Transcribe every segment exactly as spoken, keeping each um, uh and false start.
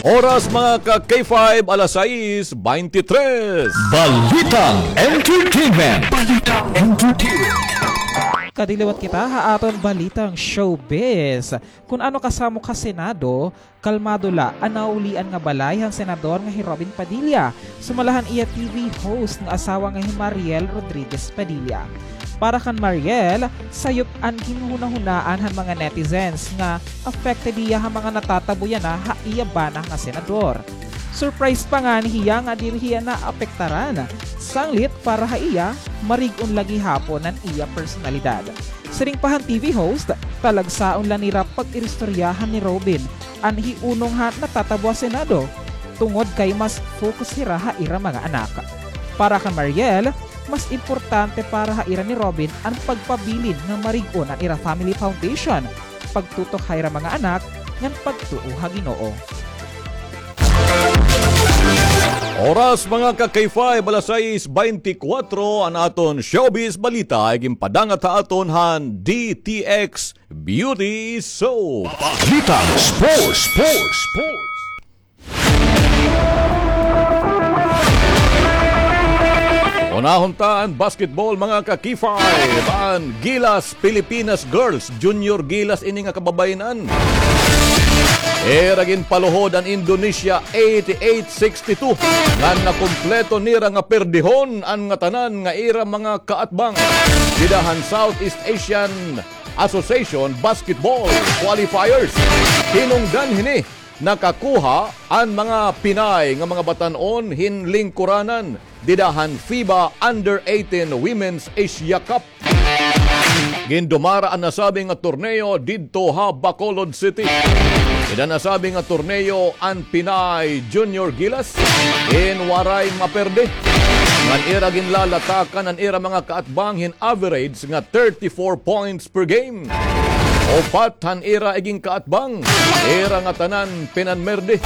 Oras, mga ka-K five, alas sais beintitres. Balitang Entertainment. Balitang Entertainment. Kadiliwat kita ha aton balitang showbiz. Kun ano kasamok ha Senado, kalmado la an naulian nga balay han senador nga hi Robin Padilla, sumala han iya T V host nga asawa nga hi Mariel Rodriguez Padilla. Para kan Mariel, sayop an ginhunahunaan han mga netizens nga affected hiya ha mga natatabo yana ha iya bana nga senador. Surprise pa ngani hiya nga diri hiya naapektaran. Sanglit para ha iya, marig-on la gihapon an iya personalidad. Siring pa han T V host, talagsaon la nira pag-iristoryahan ni Robin an hiunong ha natatabo ha Senado, tungod kay mas focus hira ha ira mga anak. Para kan Mariel, mas importante para ha ira ni Robin an pagpabilin nga marig-on an ira family foundation, pagtutok ha ira mga anak, ngan pagtuo ha Ginoo. Oras, mga ka-K five, alas sais beintikwatro, an aton showbiz balita ay ginpadangat ha aton han D T X Beauty Soap. Balitang sports, sports, sports. Unahon ta an basketball, mga ka-K five. An Gilas Pilipinas Girls, Junior Gilas ini nga kababayen-an. Ira ginpaluhod an Indonesia eighty-eight sixty-two, ngan nakumpleto nira nga perdihon an ngatanan nga ira mga kaatbang dida han Southeast Asian Association Basketball Qualifiers. Hinungdan hini, nakakuha an mga Pinay nga mga batan-on hin lingkuranan dida han FIBA Under eighteen Women's Asia Cup. Gindumara an nasabi nga torneo didto ha Bacolod City. Dida nasabi nga torneo an Pinay Junior Gilas in waray maperde. Ngan ira ginlalatakan an ira mga kaatbang hin average nga thirty-four points per game. Upat han ira igin kaatbang, ira ngatanan pinanmerde.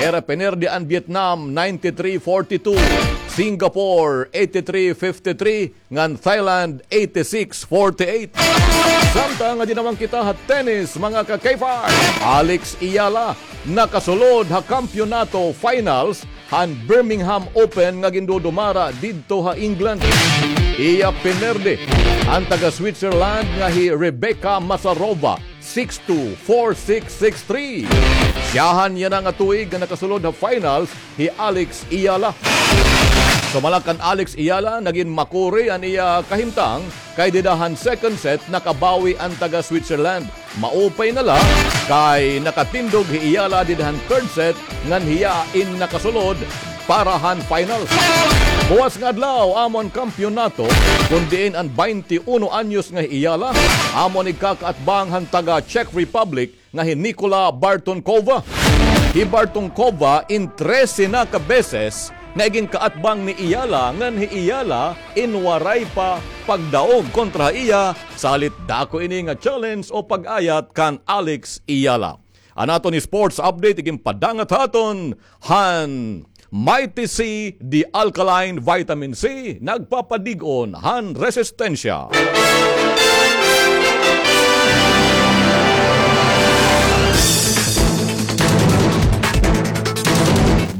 Ira pinerde an Vietnam ninety-three forty-two, Singapore eighty-three fifty-three, ngan Thailand eighty-six forty-eight. Samtang nga dinaman kita ha tennis, mga ka-K five, Alex Eala nakasulod ha kampiyonato finals han Birmingham Open nga gindudumara didto ha England. Iya pinerde an taga-Switzerland nga hi Rebecca Masarova, six two, four six, six three. Siyahan yana nga tuig nga nakasulod ha finals hi Alex Eala. Sumala kan Alex Eala, nagin makuri an iya kahimtang kay dida han second set nakabawi an taga-Switzerland. Maupay na la kay nakatindog hi Eala dida han third set ngan hiya in nakasulod para han finals. Buwas nga adlaw amo an kampiyonato, kun diin an baynte uno anyos nga hi Eala amo an igkakaatbang han taga-Czech Republic nga hi Nikola Bartonkova. Hi Bartonkova in trese na ka beses nga igin kaatbang ni Eala, ngan hi Eala in waray pa pagdaog kontra ha iya, salit dako ini nga challenge o pag-ayat kan Alex Eala. An aton sports update igin padangat ha aton han Mighty C, the alkaline vitamin C, nagpapadig-on han resistensya.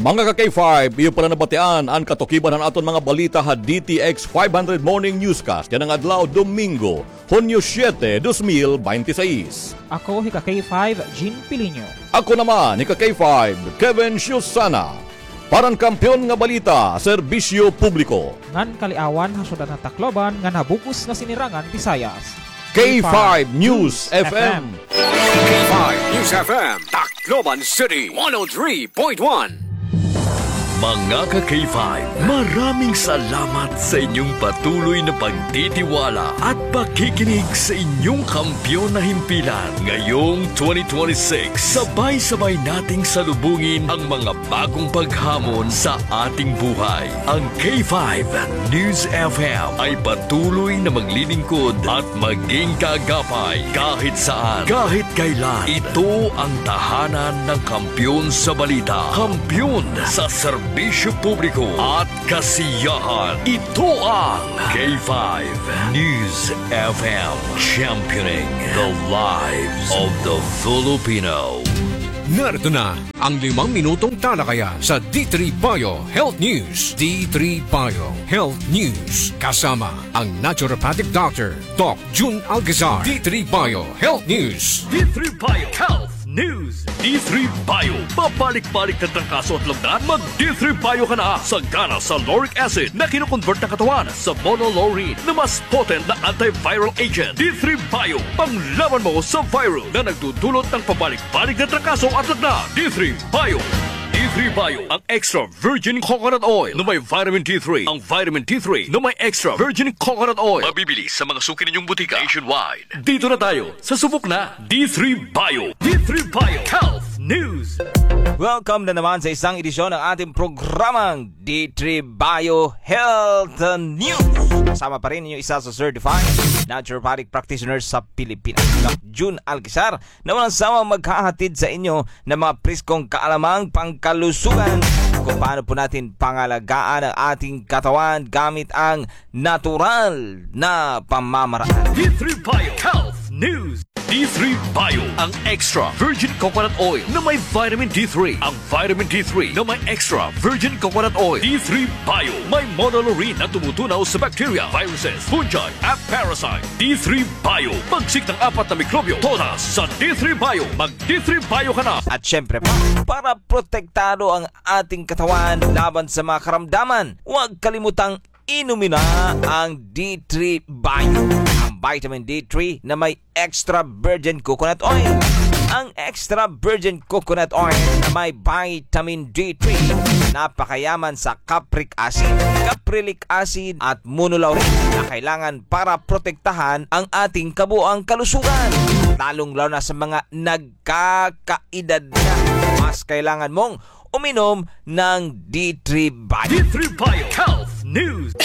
Mga ka-K five, iyo pala nabatian an katukiban han aton mga balita ha D T X five hundred Morning Newscast yana nga adlaw, Domingo, Hunyo siete, dos mil beintiseis. Ako hi ka-K five, Jean Pilinho. Ako naman hi ka-K five, Kevin Siusana. Para han Kampiyon nga Balita, Serbisyo Publiko ngan Kaliawan ha Syudad han Tacloban ngan ha bug-os nga Sinirangan Visayas. K five News F M. K five News F M, Tacloban City, one oh three point one. Mga ka-K five, maraming salamat sa inyong patuloy na pagtitiwala at pakikinig sa inyong kampiyon na himpilan. Ngayong twenty twenty-six, sabay-sabay nating salubungin ang mga bagong paghamon sa ating buhay. Ang K five News F M ay patuloy na maglilingkod at maging kaagapay kahit saan, kahit kailan. Ito ang tahanan ng kampiyon sa balita, kampiyon sa serbisyo publiko at kasiyahan. Ito ang K five News F M, championing the lives of the Filipino. Narito na ang limang minutong talakayan sa D three Bio Health News. D three Bio Health News. Kasama ang naturopathic doctor, Doc Jun Alcazar. D three Bio Health News. D three Bio Health News. D three Bio. Pabalik-balik na trangkaso at lagnat? Mag D three Bio ka na. Sagana sa lauric acid na kinokonvert ng katawan sa monolaurin na mas potent na antiviral agent. D three Bio. Panglaban mo sa virus na nagdudulot ng pabalik-balik na trangkaso at lagnat. D three Bio. D three Bio. Ang extra virgin coconut oil na may vitamin D three. Ang vitamin D three na may extra virgin coconut oil. Mabibili sa mga suki ninyong butika nationwide. Dito na tayo sa subok na D three Bio. D three Bio Health News. Welcome na naman sa isang edisyon ng ating programang D three Bio Health News. Kasama pa rin ninyo isa sa certified naturopathic practitioner sa Pilipinas, Doc Jun Alcazar, na walang sawang maghahatid sa inyo ng mga preskong kaalamang pangkalusugan kung paano po natin pangalagaan ang ating katawan gamit ang natural na pamamaraan. D three Bio Health News. D three Bio, ang extra virgin coconut oil na may vitamin D three. Ang vitamin D three na may extra virgin coconut oil. D three Bio, may monolaurin na tumutunaw sa bacteria, viruses, fungi, at parasite. D three Bio, pagsik ng apat na mikrobyo, todas sa D three Bio. Mag D three Bio ka na. At syempre pa, para protektado ang ating katawan laban sa mga karamdaman, huwag kalimutang inumin na ang D three Bio. Ang vitamin D three na may extra virgin coconut oil. Ang extra virgin coconut oil na may vitamin D three, napakayaman sa capric acid, caprylic acid at monolaurin na kailangan para protektahan ang ating kabuoang kalusugan, lalong-lalo na sa mga nagkakaedad na. Mas kailangan mong uminom ng D three Bio. D three Bio Health News.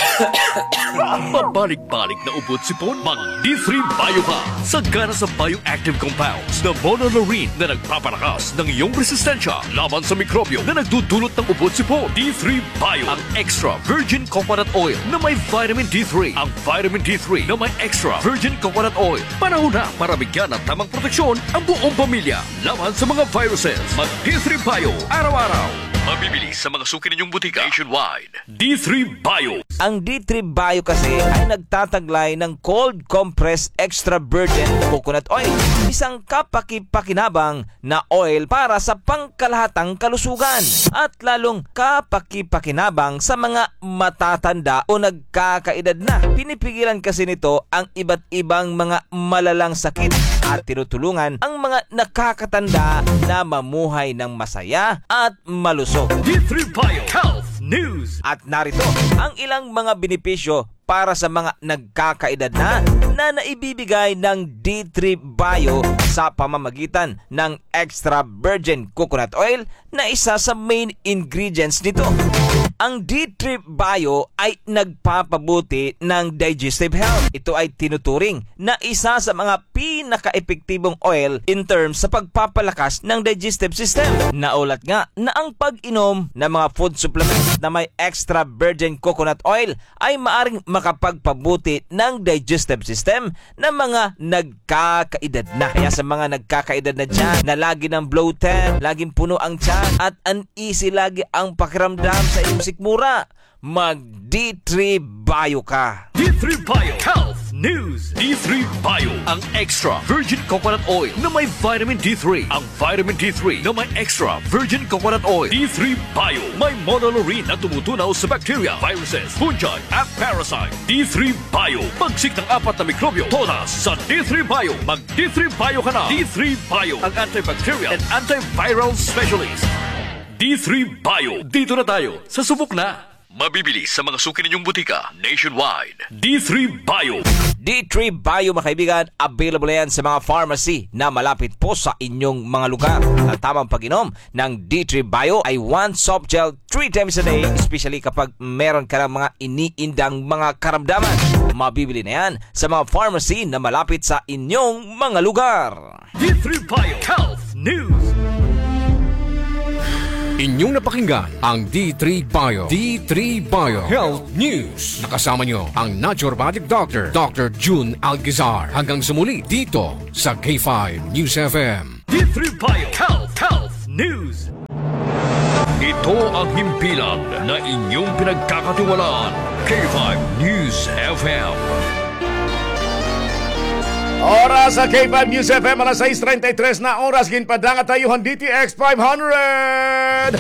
Pabalik-balik na ubo at sipon? Mag D three Bio ka. Sagana sa bioactive compounds na monolaurin na nagpapalakas ng iyong resistensya laban sa mikrobyo na nagdudulot ng ubo at sipon. D three Bio, ang extra virgin coconut oil na may vitamin D three. Ang vitamin D three na may extra virgin coconut oil. Panahon na para bigyan ng tamang proteksyon ang buong pamilya laban sa mga viruses. Mag D three Bio araw-araw. Mabibili sa mga suki ninyong butika nationwide. D three Bio. Ang D three Bio kasi ay nagtataglay ng cold compressed extra virgin coconut oil, isang kapaki-pakinabang na oil para sa pangkalahatang kalusugan at lalong kapaki-pakinabang sa mga matatanda o nagkakaedad na. Pinipigilan kasi nito ang iba't ibang mga malalang sakit at tinutulungan ang mga nakakatanda na mamuhay ng masaya at malusog. D three Bio Health News. At narito ang ilang mga benepisyo para sa mga nagkakaedad na, na naibibigay ng D three Bio sa pamamagitan ng extra virgin coconut oil na isa sa main ingredients nito. Ang D three Bio ay nagpapabuti ng digestive health. Ito ay tinuturing na isa sa mga pinakaepektibong oil in terms sa pagpapalakas ng digestive system. Naulat nga na ang pag-inom ng mga food supplements na may extra virgin coconut oil ay maaring makapagpabuti ng digestive system ng mga nagkakaedad na. Kaya sa mga nagkakaedad na dyan na lagi ng bloated, laging puno ang tiyan, at uneasy lagi ang pakiramdam sa iyong sikmura, mag D three Bio ka. D three Bio Health News. D three Bio, ang extra virgin coconut oil na may vitamin D three. Ang vitamin D three na may extra virgin coconut oil. D three Bio, may monolaurin na tumutunaw sa bacteria, viruses, fungi, at parasite. D three Bio, pagsik ng apat na mikrobyo, todas sa D three Bio. Mag D three Bio ka na. D three Bio, ang antibacterial and antiviral specialist. D three Bio, dito na tayo sa subok na. Mabibili sa mga suki ninyong butika nationwide. D three Bio. D three Bio, mga kaibigan, available na yan sa mga pharmacy na malapit po sa inyong mga lugar. At tamang pag-inom ng D three Bio ay one soft gel three times a day, especially kapag meron ka ng mga iniindang mga karamdaman. Mabibili na yan sa mga pharmacy na malapit sa inyong mga lugar. D three Bio Health News. Inyong napakinggan ang D three Bio. D three Bio Health News. Nakasama nyo ang naturopathic doctor, Doctor Jun Alcazar. Hanggang sa muli dito sa K five News F M. D three Bio Health, Health News. Ito ang himpilan na inyong pinagkakatiwalaan, K five News F M. Oras sa K five News F M, alas sais treinta y tres na oras, ginpadangat ha iyo han D T X five hundred.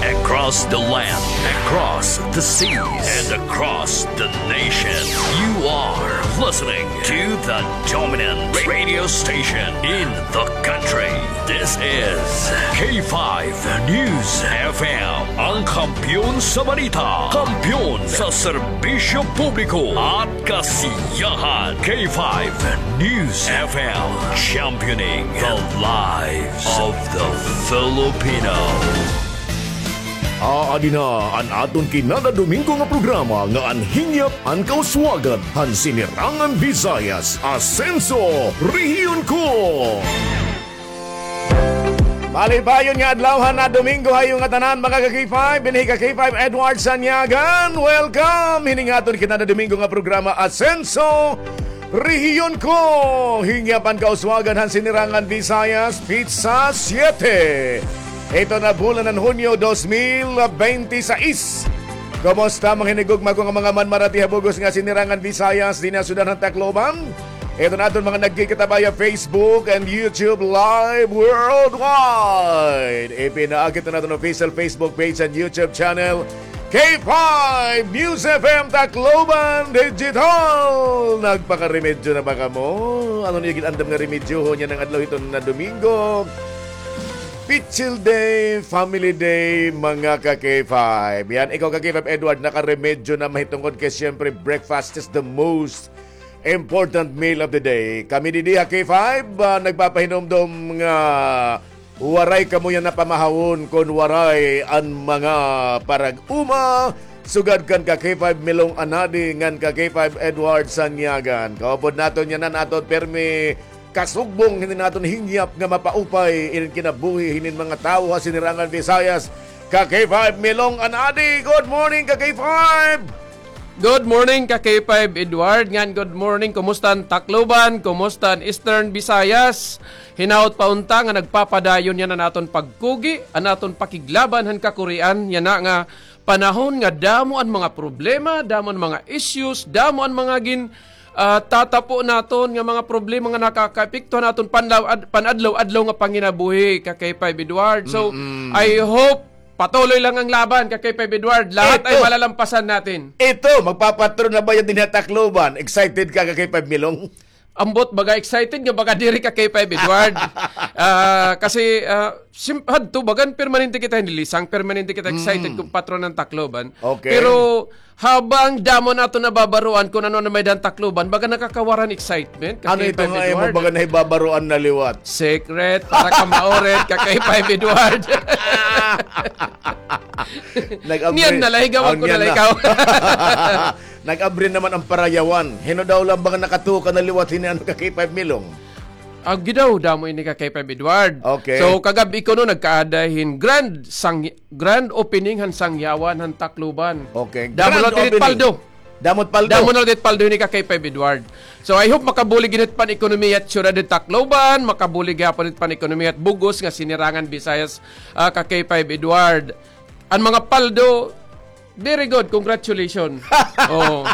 Across the land, across the seas, and across the nation, you are listening to the dominant radio station in the country. This is K five News F M, ang kampiyon sa balita, kampiyon sa serbisyo publiko at kasiyahan. K five News F M, championing the lives of the Filipino. Aadi na an aton kinada Domingo nga programa nga an hingyap an kauswagan han Sinirangan Visayas, Asenso, Rehiyon Ko. Malipayon nga adlaw han Domingo ha iyo ngatanan, mga ka-K five, dinhi ka K five Edward Sanyagan. Welcome hini nga aton kinada Domingo nga programa, Asenso, Rehiyon Ko. Hingyap an kauswagan han Sinirangan Visayas, pitsa siete. Ito na bulan han Hunyo dos mil bente seis. Kumusta, mga hinigugma ko nga mga manmarati ha bug-os nga Sinirangan Visayas, dinhi ha syudad han Tacloban? Ito na aton mga nagkikita via Facebook and YouTube Live worldwide. Ipinaagi ito na aton official Facebook page and YouTube channel, K five News F M Tacloban Digital. Nagpakaremedyo na ba kamo? Ano niyo gin-andam nga remedyohon yana nga adlaw hiton nga Domingo? Pichil Day, Family Day, mga ka-K five. Yan, ikaw ka-K five Edward, nakaremedyo na mahitungod kay siyempre breakfast is the most important meal of the day. Kami didi ha K five, ah, nagpapahinumdom nga waray kamo yana pamahawon kon waray an mga parag-uma, sugad kan ka-K five Milong Anadi ngan ka-K five Edward Sanyagan. Kaupod naton yana an aton pirmi kasugbong hinin aton hingyap nga mapaupay inin kinabuhi hinin mga tawo ha Sinirangan Visayas. Ka-K five Milong Anadi, good morning, ka-K five! Good morning, ka-K five Edward, ngan good morning, kumusta an Tacloban, kumusta an Eastern Visayas? Hinaot pa unta nga nagpapadayon yana an aton pagkugi, an aton pakiglaban han kakurian, yana nga panahon nga damo an mga problema, damo an mga issues, damo an mga gin, ah, tatapo naton nga mga problema nga nakakaepekto han aton panlaw-, ad-, pan-adlaw-adlaw nga panginabuhi, ka-K five Edward. So, I hope patuloy lang ang laban, ka-K five Edward. Lahat ay malalampasan natin. Ito, magpapatron na ba yan dinhi ha Tacloban? Excited ka, ka-K five Milong? Ambot, baga excited nga baga diri, ka-K five Edward. Ah, kasi, ah, sim-, hadto, bagan permanente kita, hindi lisang, permanente kita excited kung patron an Tacloban. Okay. Pero habang damo naton nababaroan kung ano an may-ada han Tacloban, baga nakakawaran excitement, ka-K five Edward. Ano ito nga imo baga nahibabaroan na liwat? Secret, para ka maorit, ka-K five Edward. Niyan na la, higawan ko na la ikaw. Nag-abri naman an parayawan. Hin-o daw la an mga nakatuka na liwat hini, ano, ka-K five Milong? Agi daw, damo ini, ka-K five Edward. Okay. So, kagab-i kuno nagkaada hin grand sang-, grand opening han sangyawan han Tacloban. Okay. Damo na la it paldo. Damo it paldo. Damo na la it paldo hini, ka-K five Edward. So, I hope makabulig gihap it pan-ekonomiya it syudad han Tacloban, makabulig gihapon it pan-ekonomiya it bug-os nga Sinirangan Visayas, ah, ka-K five Edward. An mga paldo, very good, congratulations. Oo.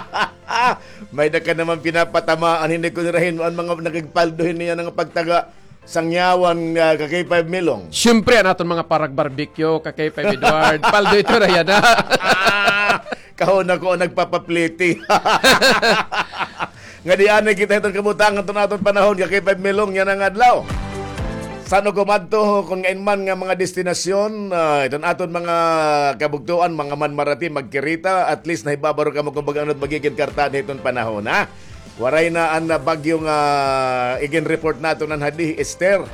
May-ada ka naman pinapatamaan, hindi ko nirahin an mga nagigpaldo hini yana nga pagtaga sangyawan, ah, ka-K five Milong. Siyempre, an aton mga parag-barbecue, ka-K five Edward. Paldo ito na yana. Kahuna ko an nagpapapliti. Nga di anay kita hiton kabutangan hiton aton panahon, ka-K five Milong, yana nga adlaw. San-o kumadto, kon ngain man nga mga destinasyon, ah, iton aton mga kabugtoan, mga manmarati, magkirita, at least nahibabaro kamo kon baga ano it magigin kartaan hiton panahon, ha? Waray na an, ah, bagyo nga igin-report naton han hadi, Esther.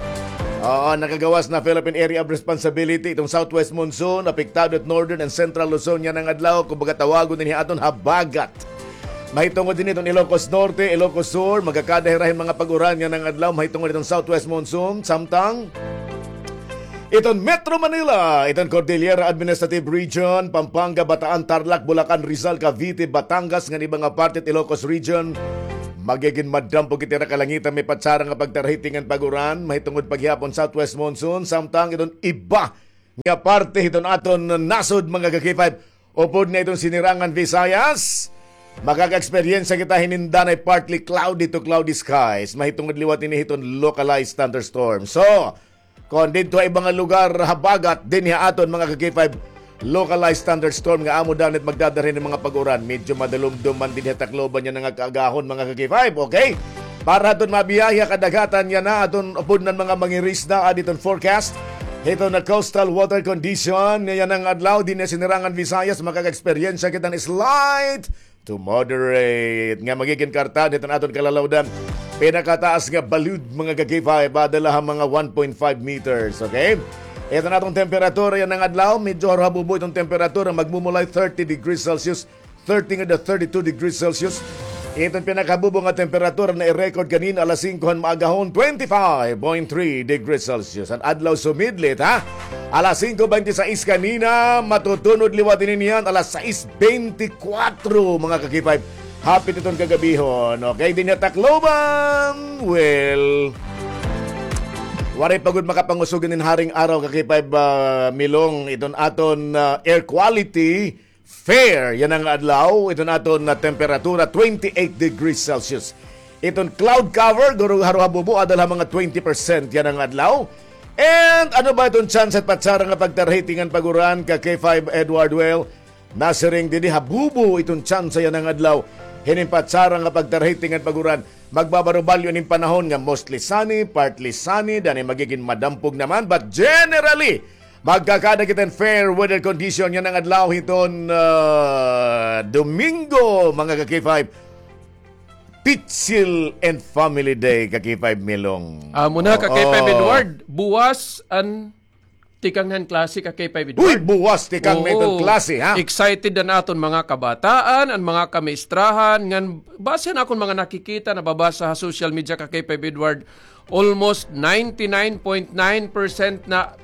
Oo, nakagawas na Philippine Area of Responsibility iton southwest monsoon, apektado it northern and central Luzon yana nga adlaw, kumbaga tawagon dinhi aton habagat. Mahitungod dinhi iton Ilocos Norte, Ilocos Sur, magakada hira hin mga pag-uran yana nga adlaw, mahitungod iton southwest monsoon, samtang iton Metro Manila, iton Cordillera Administrative Region, Pampanga, Bataan, Tarlac, Bulacan, Rizal, Cavite, Batangas, ngan iba nga parte it Ilocos Region, Magigin madampo kita ha kalangitan, may patsara nga pagtarhiti ngan pag-uran, mahitungod pa gihapon southwest monsoon, samtang iton iba nga parte hiton aton nasod, mga ka-K five, upod na iton Sinirangan Visayas. Makaka-eksperyensya kita hinin danay partly cloudy to cloudy skies. Mahitungod liwat ini hiton localized thunderstorm. So, kon didto ha iba nga lugar, habagat, dinhi ha aton, mga ka-K five, localized thunderstorm nga amo danay it magdadara hin mga pag-uran. Medyo madalumdom man dinhi ha Tacloban yana nga kaagahon, mga ka-K five, okay? Para aton mabiyahe ha kadagatan yana, aton upod nan mga mangirisda, adi iton forecast hiton coastal water condition yana nga adlaw dinhi ha Sinirangan Visayas, makaka-eksperyensya kita hin slight to moderate nga magigin kartan hiton aton kalalawdan. Pinakataas nga balud, mga ka-K five, ada la ha mga one point five meters, okay? Iton aton temperatura yana nga adlaw, medyo haruhabubo iton temperatura, magmumulay thirty degrees Celsius, thirty nga da thirty-two degrees Celsius. Iton pinakahabubo nga temperatura na i-record kanina alas singko han maagahon, twenty-five point three degrees Celsius. An adlaw sumidlit, ha? Alas singko bente sais kanina, matutunod liwat ini niyan alas sais bente kwatro, mga ka-K five. Hapit iton kagabihon. Okay, dinhi ha Tacloban, well, waray pa gud makapangusog inin haring araw, ka-K five, ah, Milong, iton aton, ah, air quality fair yana nga adlaw, iton aton nga temperatura, twenty-eight degrees Celsius. Iton cloud cover, guro, haruhabubo, ada la ha mga twenty percent yana nga adlaw. And ano ba iton tsansa hit patsara nga pagtarhiti ngan pag-uran, ka-K five Edward? Well, nasiring didi, habubo iton tsansa yana nga adlaw hinin patsara nga pagtarhiti ngan pag-uran. Magbabarubalyo inin panahon nga mostly sunny, partly sunny, danay magigin madampog naman, but generally, magkakada kita hin fair weather condition yana nga adlaw hiton, ah, Domingo, mga ka-K five. Pitsil and Family Day, ka-K five Milong. Amo na, ka-K five Edward. Buwas an tikang han klase, ka-K five Edward. Uy, buwas tikang na iton klase, ha? Excited an aton mga kabataan, an mga kamaestrahan, ngan base han akon mga nakikita, nababasa ha social media, ka-K five Edward, almost ninety-nine point nine percent na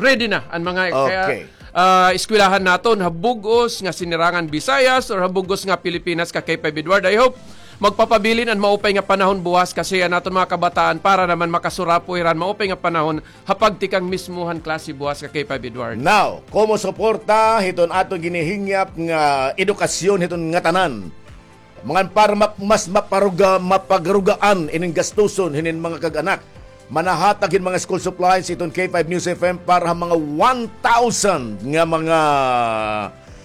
ready na an mga, kaya, ah, eskwelahan naton ha bug-os nga Sinirangan Visayas or ha bug-os nga Pilipinas, ka-K five Edward. I hope magpapabilin an maupay nga panahon buwas kasi an aton mga kabataan para naman makasurapoy hira han maupay nga panahon ha pagtikang mismo han klase buwas, ka-K five Edward. Now, komo suporta hiton aton ginihingyap nga edukasyon hiton ngatanan. Mga para ma-, mas maparuga-, mapagrugaan inin gastuson hinin mga kag-anak. Manahatag hin mga school supplies iton K five News F M para ha mga one thousand nga mga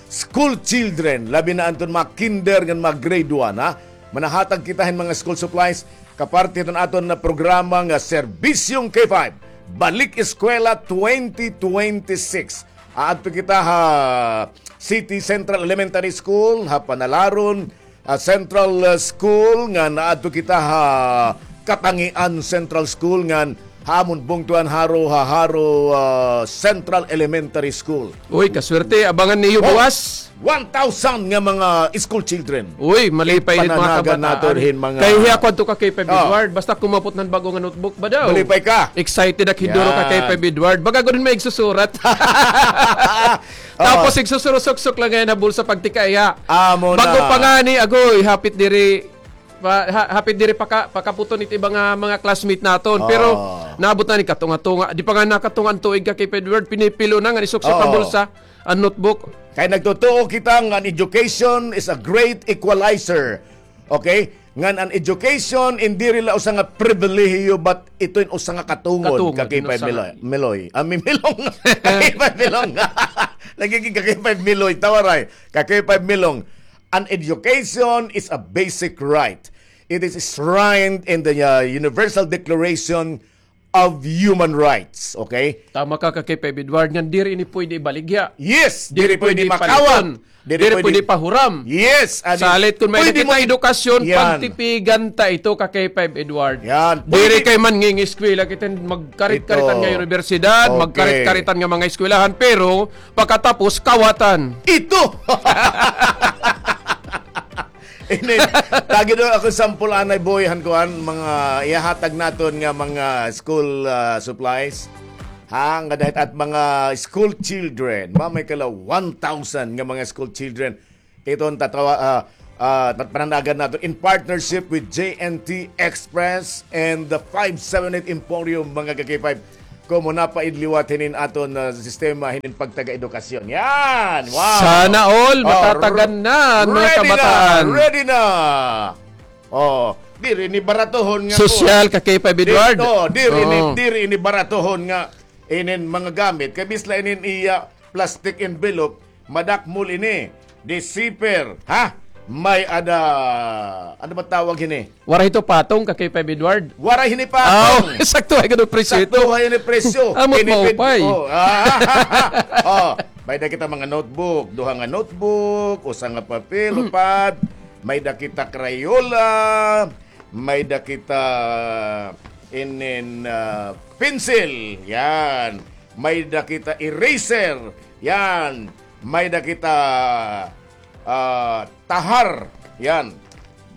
school children, labi na anton mga kinder ngan mga grade one, ha. Manahatag kita hin mga school supplies, kaparte hiton aton nga programa nga Serbisyong K five, Balik Eskwela twenty twenty-six. Aadto kita ha City Central Elementary School, ha Panalaron, ah, Central, ah, School, ngan aadto kita ha Katangian Central School, ngan ha amon bungtuan haro, ha haro, ah, Central Elementary School. Uy, kaswerte, abangan niyo buwas. One thousand nga mga school children. Uy, malipay it mga kabataan. Kay hiya ko adto, ka-K five Edward, basta kumapot nan bag-o nga notebook ba daw? Malipay ka. Excited ak hiduro, ka-K five Edward. Baga gud may igsusurat. Tapos igsusurusok-sok la ngay-an ha bulsa pagtikang iya. Amo na. Bag-o pa ngani, agoy, hapit diri, pa-, ha-, hapit diri paka-, pakaputon it iba nga mga classmate naton. Pero naabot na ni katunga-tunga. Di pa nga nakatunga an tuig, ka-K five Edward, pinipilo na nga isuksok ha bulsa an notebook. Kay nagtutuo kita nga an education is a great equalizer. Okay? Ngan an education, in diri la usa nga pribilehiyo, but ito in usa nga katungod, ka-K five Miloy. Miloy. Ah, Milong. Ka-K five Milong. Nagiging ka-K five Miloy. Tawaray. Ka-K five Milong. An education is a basic right. It is enshrined in the, uh, Universal Declaration of Human Rights, okay? Tama ka, ka-K five Edward, ngan diri ini pwede ibaligya. Yes, diri pwede makawat. Diri pwede pahuram. Yes, salit kon may-ada kita edukasyon, pagtipigan ta ito, ka-K five Edward. Diri kay man ngingiskwela kita, magkarit-karitan nga unibersidad, magkarit-karitan nga mga eskwelahan, pero pagkatapos, kawatan. Ito! Ini, tagi daw ako sampol anay boy han kuan, mga ihahatag naton nga mga school, ah, supplies. Ha, nga dahil at mga school children, mamay kala one thousand nga mga school children. Iton tatawa, ah, Ah, tat-, pananagan naton in partnership with J N T Express and the five seven eight Emporium, mga ka-K five. Komo na pa id liwat hinin aton, ah, sistema hinin pagtaga-edukasyon. Yan! Wow! Sana all, oh, matatagan na ang mga ready na, kabataan. Ready na! Oh, diri ini baratohon nga Sosyal, kuan. Ka-K five Edward. Di-, oh, diri ini, oo, diri ini baratohon nga inin mga gamit. Kay bisla inin iya plastic envelope, madakmol ini. Di zipper, ha? May ada, ano ba tawag hini? Waray ito patong, ka-K five Edward. Waray hini patong. Aw, sakto ay gano'n presyo ito. Sakto ay ini presyo. Amot tinipid maupay. Oh, ah, oh, may da kita mga notebook, duha nga notebook, usa nga papel, upad, may da kita Crayola, may da kita inin, ah, pencil, yan. May da kita eraser, yan. May da kita, ah, tahar, yan.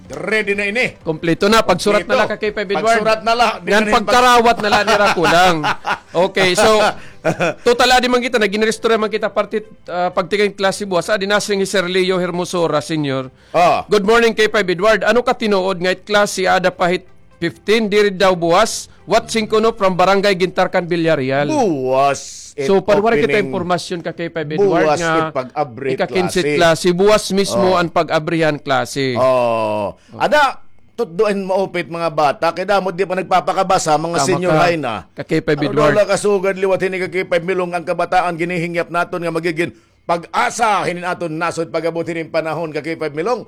Ready na ini. Kompleto na. Pagsurat na la, ka-K five Edward. Pagsurat na la. Di na pagkarawat na la nira kulang. Okay, so, total adi man kita, nagin-register man kita parte, ah, pagtikang klase buwas. Adi na si Sir Leo Hermosura, Senior. Ah. Good morning, K five Edward. Ano ka tinuod nga it klase ada pa hit fifteen, diri daw buwas? Watching kuno from Barangay Gintarcan, Villarreal. Buwas it opening. So, panuwari kita impormasyon, ka-K five Edward, buwas nga it pag-abri ika-kinse klase. Klase. Buwas mismo, oh, an pag-abrihan klase. Oh. Ada, tutdoan maupay it mga bata. Kay damo di pa nagpapakabasa, mga senior high na. Tama ka, ka-K five Edward. Ano daw la kasugad liwat hini, ka-K five Milong, ang kabataan ginihingyap naton nga magigin pag-asa hinin aton nasod pag-abot hinin panahon, ka-K five Milong.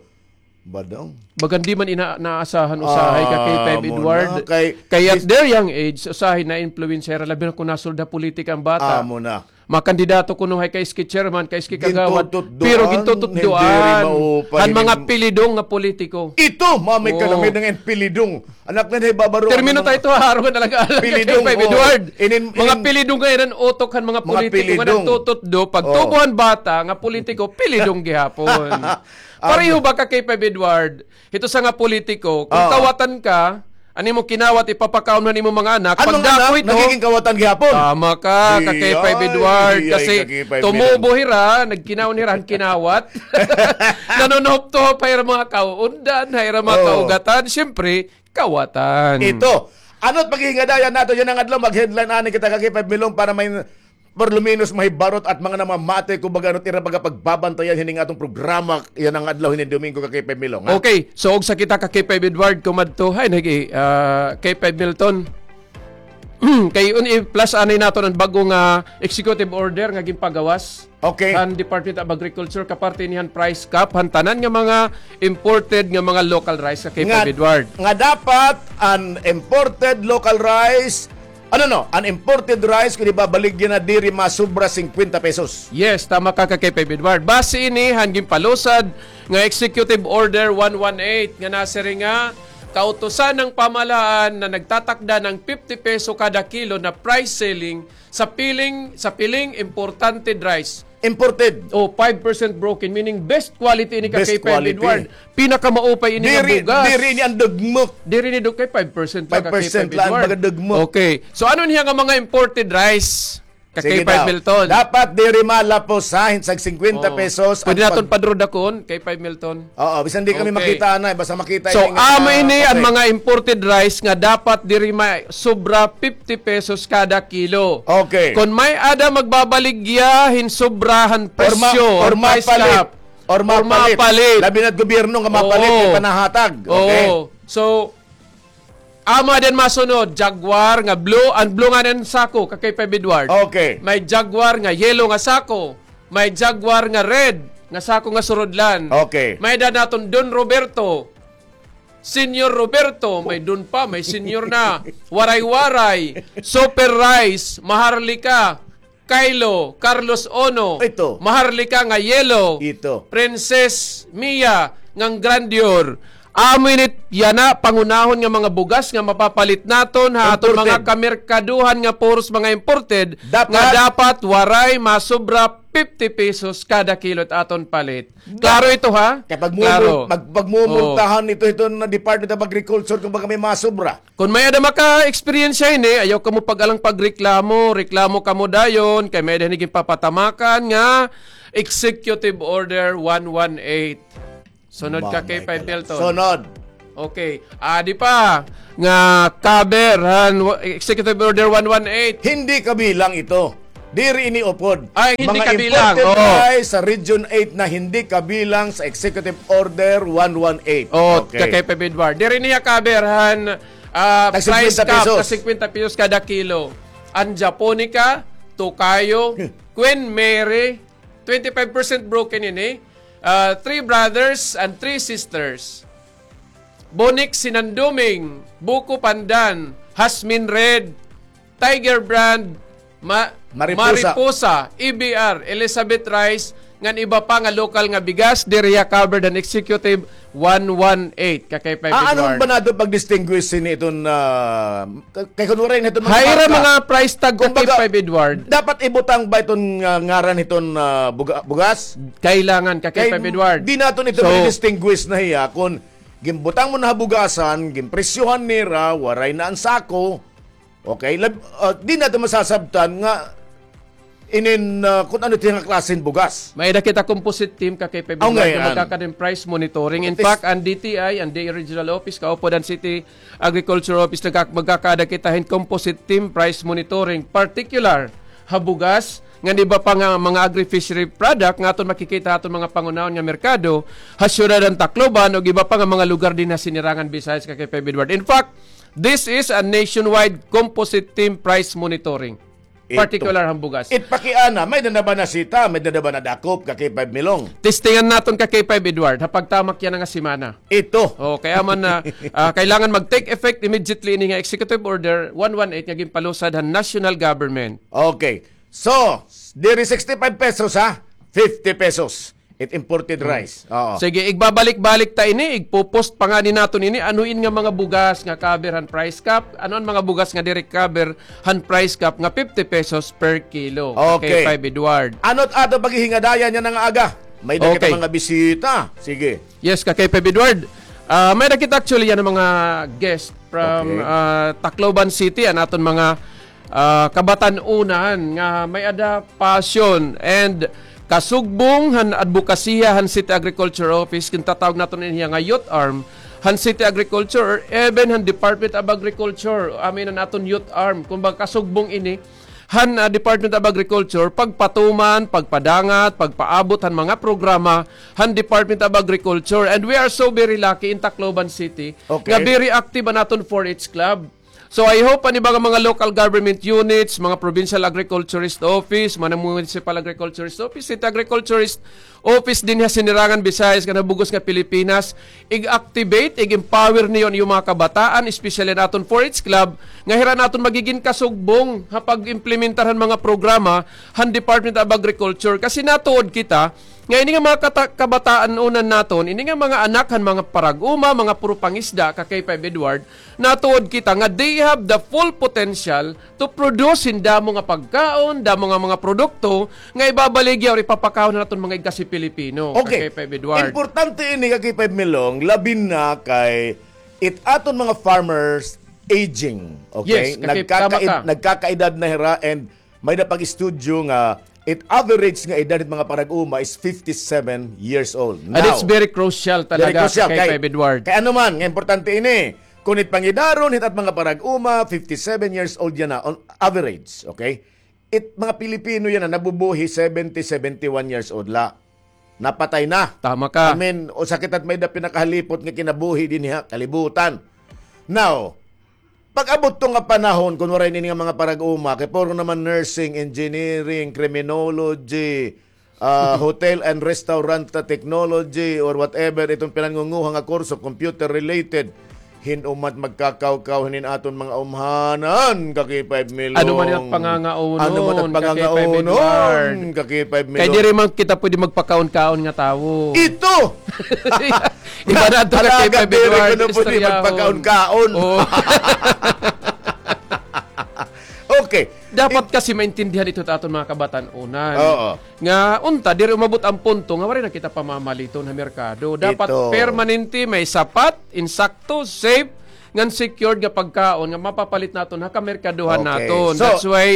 Badong. Bagan di man ina-, naasahan usahay, ka-K five Edward. Amo na, kay, kay at their young age, usahay na-influensya hira, labi na kon nasulod ha politika an bata. Amo na. Makandidato kuno hay kay iski chairman, kay iski kagawad, pero gintututdoan. Gintututdoan. Hindi rin maupay. Han mga pilidong nga politiko. Ito, mami, oo, kalamid nga pilidong. Anak na, nahibabaro. Termino tayo ito, ha, aron nga talaga alam, pilidong, ka-K five Edward. Inin, mga inin, pilidong nga iran utok han mga politiko nga pilidong. Nagtututdo, pagtubo han bata nga politiko, pilidong gihapon. Pareho ba, ka-K five Edward? Hito sa nga politiko, kung kawatan ka, an imo kinawat, ipapakaon han imo mga anak, pagdako ito, magiging kawatan gihapon. Tama ka, ka-K five Edward, kasi tumubo hira, nagkinaon hira han kinawat. Nanunuhop-tuhop ha ira mga kauundan, ha ira mga kaugatan. Siyempre, kawatan. Ito. Ano't paghihingadayan naton yana nga adlaw, mag-headline anay kita, ka-K five Milong, para may, por lo menos, mahibarot at mga namamati, kumbaga, ano't ira pagapagbabantayan hining aton programa yana nga adlaw, hining Domingo, ka-K five Milong, ha? Okay. So, ugsa kita, ka-K five Edward, kumadto, hay, nagi, ah, K five Milton. Kay un-, i-plus anay naton an bag-o nga executive order nga ginpagawas. Okay. Han Department of Agriculture, kaparte ini han price cap han tanan nga mga imported nga mga local rice, ka-K five Edward. Nga dapat an imported local rice, ano, no, an imported rice, kon ibabaligya na, diri masobra singkwenta pesos. Yes, tama ka, ka-K five Edward. Base ini han ginpalusad nga Executive Order one one eight nga nasiring nga kautusan ng pamahalaan na nagtatakda ng fifty peso kada kilo na price ceiling sa piling, sa piling imported rice. Imported. O, five percent broken, meaning best quality ini, ka-K five Edward. Pinakamaupay ini nga bugas. Diri, diri ini an dugmok. Diri ini dug-, kay five percent la, ka-K five Edward. Five percent la an dugmok. Okay. So, ano niya nga mga imported rice, ka-K five Milton? Sige daw. Dapat diri malapos, ha, hin sag singkwenta pesos. Pwede naton pa-draw dakon, ka-K five Milton. Oo, bisan di kami makita anay, basta makita ini nga, okay. So, amo ini an mga imported rice nga dapat diri masobra fifty pesos kada kilo. Okay. Kon may-ada magbabaligya hin sobra han presyo, or ma-, or price cap, or mapalit. Labi na't gobyerno nga mapalit, may panahatag. Okay. Oo. So, amo din masunod, Jaguar nga blue, an blue nga nan sako, ka-K five Edward. Okay. May Jaguar nga yellow nga sako. May Jaguar nga red nga sako nga surudlan. Okay. May-ada naton Don Roberto, Senior Roberto, may Don pa, may Senior na. Waray-Waray, Super Rice, Maharlika, Kylo, Carlos Ono, ito. Maharlika nga yellow, ito. Princess Mia nga Grandeur. Amo ini yana panghunahon nga mga bugas nga mapapalit naton ha aton mga kamerkaduhan nga puros mga imported, nga dapat waray masobra fifty pesos kada kilo it aton palit. Klaro ito, ha? Kay pagmumul-, klaro. Mag-, pagmumultahan ito, ito na Department of Agriculture kung baga may masobra. Kon may-ada maka-eksperyensya ini, ayaw kamo pag-alang pagreklamo, reklamo kamo dayon, kay may-ada ini ginpapatamakan nga Executive Order one one eight. Sunod ka, K five Milton. Sunod. Okay. Adi pa nga cover han wa-, Executive Order one one eight. Hindi kabilang ito. Diri ini upod. Ay, hindi kabilang. Mga imported rice sa Region eight na hindi kabilang sa Executive Order one one eight. Oh, okay. Ka K five Edward. Diri niya cover han, ah, price cap na singkwenta pesos kada kilo. An Japonica, Tokayo, Queen Mary, twenty-five percent broken ini. Ah, Three Brothers and Three Sisters. Bonik Sinanduming, Buko Pandan, Jasmine Red, Tiger Brand, Ma-, Mariposa. Mariposa, E B R, Elizabeth Rice, ngan iba pa nga lokal nga bigas, diri hiya covered han Executive one one eight, ka K five Edward. Ah, ano ba naton pag-distinguish hini iton, ah, Kay kun waray na iton mga price tag, ka K five Edward. Dapat ibutang ba iton, ah, ngaran hiton, ah, buga-, bugas? Kailangan, ka K five Edward. Di naton ito ma-distinguish na hiya kun ginbutang mo na ha bugasan, ginpresyohan nira, waray na an sako. Okay, lab-, ah, di naton masasabtan nga inin, ah, kun ano it iya nga klase hin bugas. May-ada kita composite team, ka K five Edward, nga magkakaada hin price monitoring. In fact, an D T I, an D A Regional Office, kaupod han City Agriculture Office, nagka-, magkakaada kita hin composite team price monitoring, particular ha bugas, ngan iba pa nga mga agri-fishery product nga aton makikita ha aton mga pangunahon nga merkado, ha siyudad han Tacloban, ug iba pa nga mga lugar dinhi ha Sinirangan Visayas, ka K five Edward. In fact, this is a nationwide composite team price monitoring. Particular han bugas. It pakiana, may-ada na ba nasita, may-ada na ba nadakop, ka K five Milong? Testingan naton, ka K five Edward, ha pagtamak yana nga semana. Ito. Oh, kaya man na, ah, kailangan mag-take effect immediately ini nga Executive Order one one eight nga ginpalusad han national government. Okay. So, diri sixty-five pesos, ha? Fifty pesos. It imported rice. Oo. Sige, igbabalik-balik ta ini, igpo-post pa ngani naton ini, ano in nga mga bugas nga cover han price cap, ano an mga bugas nga diri cover han price cap nga fifty pesos per kilo. Okay. Ka K five Edward. Ano it aton paghihingadayan yana nga aga? May-ada kita mga bisita. Sige. Yes, ka K five Edward. Ah, may-ada kita actually yana mga guest from, ah, Tacloban City, an aton mga ah, kabatan-onan nga may-ada passion and kasugbong han adbokasiya han City Agriculture Office, gintatawag naton ini nga youth arm han City Agriculture or even han Department of Agriculture, amin an aton youth arm. Kumbaga, kasugbong ini han, ah, Department of Agriculture, pagpatuman, pagpadangat, pagpaabot han mga programa han Department of Agriculture. And we are so very lucky in Tacloban City nga very active an aton four H Club. So, I hope an iba nga mga local government units, mga provincial agriculturist office, mga municipal agriculturist office, city agriculturist office dinhi ha Sinirangan Visayas ngan ha bug-os nga Pilipinas, ig-activate, ig-empower niyo an iyo mga kabataan, especially an aton four H Club, nga hira an aton magigin kasugbong ha pag-implementar han mga programa han Department of Agriculture. Kasi natuod kita nga ini nga mga kata-, kabataan-onan naton, ini nga mga anak han mga parag-uma, mga puro pangisda, ka K five Edward, natuod kita nga they have the full potential to produce hin damo nga pagkaon, damo nga mga produkto nga ibabaligya or ipapakaon han aton mga igkasi Pilipino, ka K five Edward. Okay. Importante ini, ka K five Milong, labi na kay it aton mga farmers aging, okay? Yes, ka K five, tama ka. Nagkakaed-, nagkakaedad na hira and may-ada pag-estudyo nga it average nga edad hit mga parag-uma is fifty-seven years old. And it's very crucial talaga, ka K five Edward. Kay ano man, nga importante ini. Kun it pangidaron hit at mga parag-uma, fifty-seven years old yana on average, okay? It mga Pilipino yana nabubuhi seventy, seventy-one years old la. Napatay na. Tama ka. I mean, usa kita hit may-ada pinakahalipot nga kinabuhi dinhi ha kalibutan. Now, pag-abot to nga panahon, kun waray ini nga mga parag-uma, kay puro naman nursing, engineering, criminology, ah, hotel and restaurant technology, or whatever, iton pinangunguha nga kurso, computer related, hin-o man magkakawkaw hinin aton mga umhanan, ka K five Milong. Ano man it pangangaonon, ano man it pangangaonon, ka K five Milong. Kay diri man kita pwede magpakaon-kaon nga tawo. Ito! Iba na ito, ka K five Edward, istoryaho. Magpakaon-kaon. Oo. Okay. Dapat kasi maintindihan ito ta aton mga kabatan-onan. Oo. Nga unta, diri umabot an punto nga waray na kita pamamaliton ha merkado. Dapat permanente, may sapat, insakto, safe, ngan secured nga pagkaon nga mapapalit naton ha kamerkadohan naton. Okay. So, that's why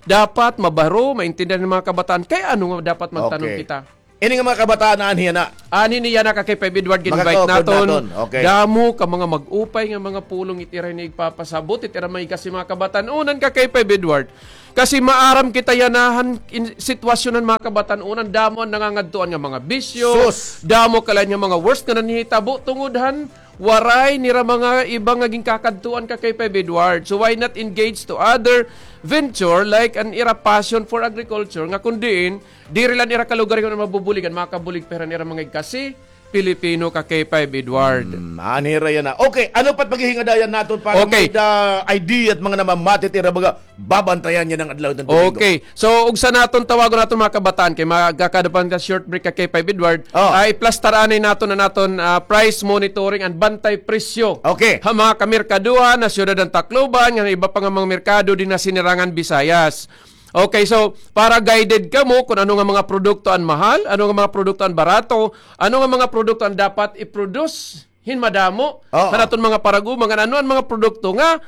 dapat mabaro, maintindihan hin mga kabataan. Kay ano nga dapat magtanom kita? Ini nga mga kabataan, anhi yana. Anhi yana, ka K five Edward, gin-invite naton. Okay. Damo ka mga mag-upay nga mga pulong it ira ini igpapasabot, it ira mga igkasi, mga kabatan-onan, ka K five Edward. Kasi maaram kita yana han sitwasyon han mga kabatan-onan, damo an nangangadtuan nga mga bisyo, damo kalain nga mga worst nga nanhihitabo tungod han waray nira mga iba nga ginkakadtuan, ka K five Edward. So why not engage to other venture like an ira passion for agriculture nga kun diin diri la an ira kalugaringon an mabubuligan, makabulig pa hira han ira mga igkasi Pilipino, ka K five Edward. Hmm, anhi hira yana. Okay, ano pa it paghihingadayan naton para may-ada idea it mga namamati it ira mga babantayan yana nga adlaw hit Domingo? Okay. So, ugsa naton tawagon naton mga kabataan kay magkakaada pa ta short break, ka K five Edward. Ah, iplastar anay naton an aton, ah, price monitoring and bantay presyo. Okay. Ha mga kamerkaduhan ha siyudad han Tacloban, ngan iba pa nga mga merkado dinhi ha Sinirangan Visayas. Okay, so para guided kamo kun ano nga mga produkto an mahal, ano nga mga produkto an barato, ano nga mga produkto an dapat i-produce hin madamo han aton mga parag-uma, ngan ano an mga produkto nga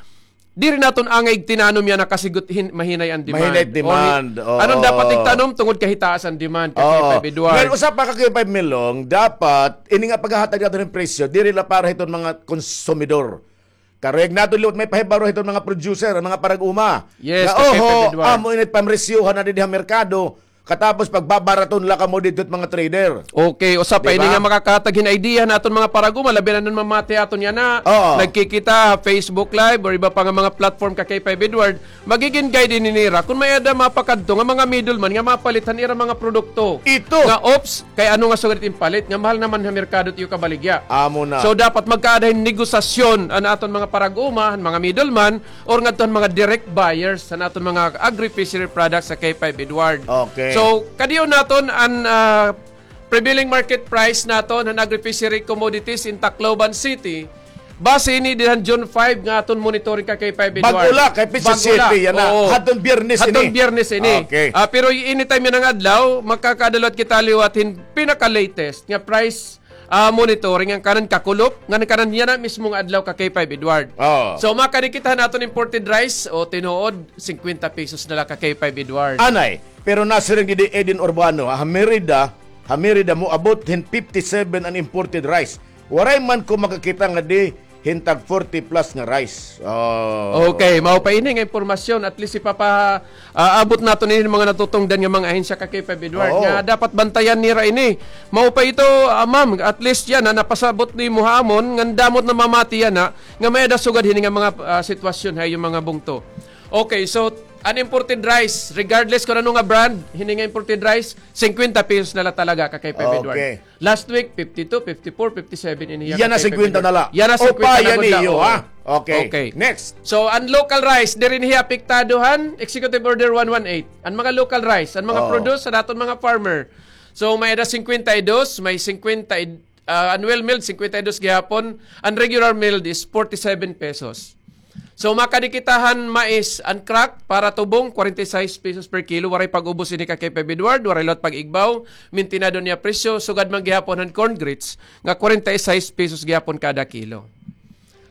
diri naton angay igtinanom yana kasi gut hin-, mahinay an demand. Mahinay it demand. Oo. Ano an dapat igtanom tungod kay hitaas an demand, ka K five Edward. Ngan usa pa, ka K five Milong, dapat ini nga paghahatag naton hin presyo diri la para hiton mga konsumidor. Karuyag naton liwat maipahibaro hiton mga producer, an mga parag-uma. Yes, ka K five Edward. Amo ini it pamresyohan na didi ha merkado. Katapos pagbabaraton la kamo didto hit mga trader. Okay, usa pa ini nga makakahatag hin idea han aton mga parag-uma, labi na an mamati ha aton yana. Oo. Nagkikita ha Facebook Live or iba pa nga mga platform, ka K five Edward. Magigin guide ini nira kun may-ada mapakadto nga mga middleman nga mapalit han ira mga produkto. Ito. Nga, oops, kay ano nga sugad it im palit nga mahal naman ha merkado it iyo kabaligya. Amo na. So dapat magkaada hin negosasyon an aton mga parag-uma, han mga middleman, or ngadto han mga direct buyers han aton mga agri-fishery products, ka K five Edward. Okay. So kadi-on naton an, ah, prevailing market price naton han agri-fishery commodities in Tacloban City. Base ini dida han June five nga aton monitoring, ka K five Edward. Bag-o la, kay petsa siyete yana. Oo. Hadton Biyernes ini. Hadton Biyernes ini. Okay. Ah, pero anytime yana nga adlaw, makakaada liwat kita liwat hin pinaka-latest nga price, ah, monitoring, an kanan kakulop, ngan kanan yana mismo nga adlaw, ka K five Edward. Oo. So makadi kita han aton imported rice, o tinuod, singkwenta pesos na la, ka K five Edward. Anay, pero nasiring didi Eden Urbano, ha Merida, ha Merida moabot hin fifty-seven an imported rice. Waray man ko makakita ngadi hin tag forty plus nga rice. Oh. Okay, mao pa ini nga impormasyon. At least ipapa-, ah, abot naton ini mga natutungdan nga mga ahensya, ka K five Edward, nga dapat bantayan nira ini. Mao pa ito, ah, ma'am, at least yana napasabot nimo ha amon ngan damo it namamati yana nga may-ada sugad hini nga mga, ah, sitwasyon ha iyo mga bungto. Okay, so an imported rice, regardless kun ano nga brand, hini nga imported rice, singkwenta pesos na la talaga, ka K five Edward. Okay. Last week, fifty-two, fifty-four, fifty-seven ini hiya. Yana singkwenta na la. Yana singkwenta na la. Upayan niyo, ha? Okay. Okay. Next. So, an local rice, diri ini hiya apektado han Executive Order one one eight. An mga local rice, an mga produce han aton mga farmer. So, may-ada singkwenta y dos, may singkwenta, ah, an well milled, singkwenta y dos gihapon, an regular milled is forty-seven pesos. So, makadi kita han mais, an crack para tubong, kwarenta y sais pesos per kilo. Waray pag-ubos ini, ka K five Edward, waray liwat pag-igbaw. Mintinado niya presyo, sugad man gihapon han corn grits nga kwarenta y sais pesos gihapon kada kilo.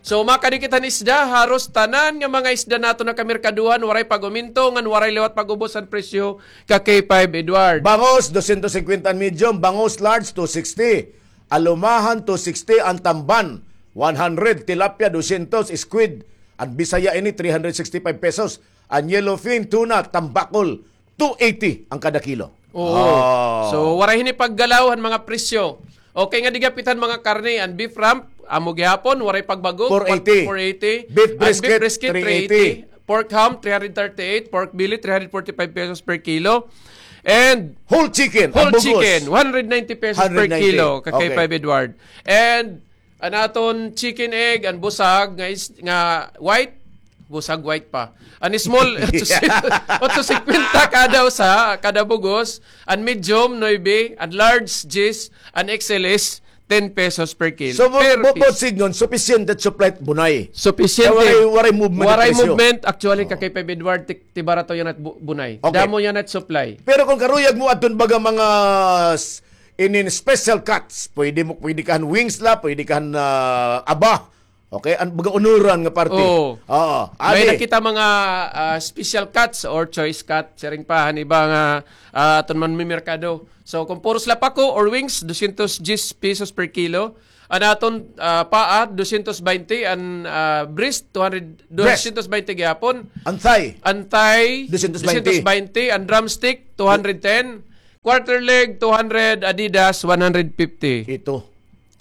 So, makadi kita han isda, haros tanan nga mga isda naton ha kamerkaduhan, waray pag-uminto, ngan waray liwat pag-ubos han presyo, ka K five Edward. Bangus, dosyentos singkwenta an medium, bangus large, two sixty. Alumahan, two sixty, an tamban, one hundred, tilapia, dosyentos, squid, an Bisaya ini, three hundred sixty-five pesos, an yellowfin, tuna, tambakol, two eighty an kada kilo. Oo. Ah. So, waray hini paggalaw han mga presyo. Okay nga, didi gihapon han mga karne, an beef rump, amo gihapon, waray pagbago, four eighty. Four eighty. Beef brisket, three eighty. Pork ham, three hundred thirty-eight. Pork belly, three hundred forty-five pesos per kilo. And whole chicken, one hundred ninety pesos per kilo, ka K five Edward. And an aton chicken egg, an busag nga is, nga white, busag white pa. An small, otso singkwenta kada usa, kada bug-os. An medium, nuebe. An large, diyes. An X L is ten pesos per kilo. So, bu-, bu-, buot sidngon, supisyente it supply, bunay. Supisyente. Kay waray, waray movement it presyo. Waray movement. Actually, ka K five Edward, ti-, tibarato yana it bu-, bunay. Okay. Damo yana it supply. Pero kon karuyag mo adton baga mga s-, inin special cuts, pwede mo, pwede ka han wings la, pwede ka han, ah, aba. Okay? An baga unuran nga parte. Oo. Oo. May Adi. nakita mga, ah, special cuts or choice cut, siring pa, han iba nga, ah, aton man may merkado. So, kung puro sila pako or wings, dosyentos diyes pesos per kilo. An aton, ah, paa, dosyentos baynte. An, ah, breast, two hundred, Breast. dosyentos baynte gihapon. An thigh. An thigh, Dosyentos baynte. dosyentos baynte. An drumstick, two hundred ten. Quarter leg, two hundred. Adidas, one hundred fifty. Ito.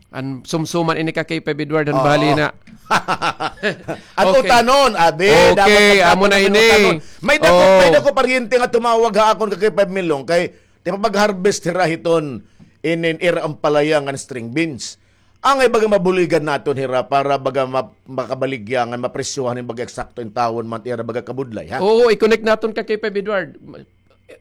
An sumsuman ini ka K five Edward, an Oo. bali na. An Okay. utanon, abi, Okay, dapat amo na magkataon ini. utanon. May dako, Oo. may dako paryente nga tumawag ha akon ka K five Milong, kay tipapag-harvest hira hiton inin ira ampalaya ngan string beans. Angay baga mabuligan naton hira para baga ma-, makabaligya ngan mapresyohan hin baga eksakto intawon man ira baga kabudlay, ha? Oo, i-connect naton ka K five Edward.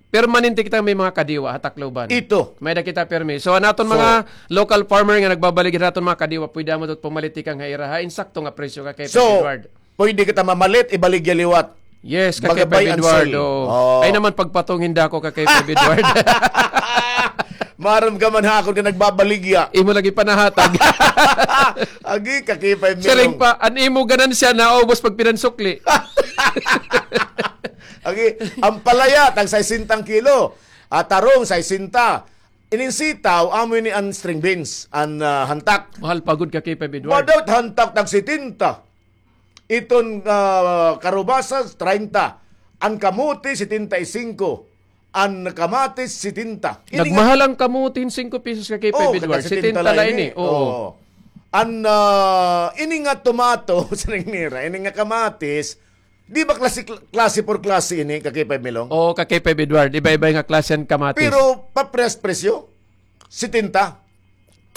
Permanente kita may mga kadiwa ha Tacloban. Ito. May-ada kita permi. So, an aton So, mga local farmer nga nagbabaligya han aton mga kadiwa, pwede amo dot pumalit tikang ha ira ha insakto nga presyo ka K five So, Edward. pwede kita mamalit, ibaligya liwat. Yes, ka K five Magabay ang Edward, sale. oo. Oo. Ay naman, pagpatungin da ako ka K five Edward. Maaram ka man ha akon nga nagbabaligya. Imo lagi panahatag. Agi, ka K five Milong. Siring pa, an imo ganansya naubos pag pinansukli. Agi, ampalaya, tag sesenta an kilo. Ah, tarong, sesenta. Ining sitaw, amo ini an string beans, an, ah, hantak. Mahal pa gud ka K five Edward. Madawt hantak, tag setenta. Iton, ah, karubasa, treinta. An kamote, setenta y cinco. An kamatis, setenta. Ini nga Nagmahal an kamote hin singko pesos ka K five Oo, Edward. kada setenta Setenta la la ini. ini. Oo. Oo. An, ah, ini nga tomato, siring nira, ini nga kamatis, di ba klase, klase por klase ini, ka K five Milong? Oo, ka K five Edward. Iba-iba nga klase an kamatis. Pero paprehas presyo? Setenta.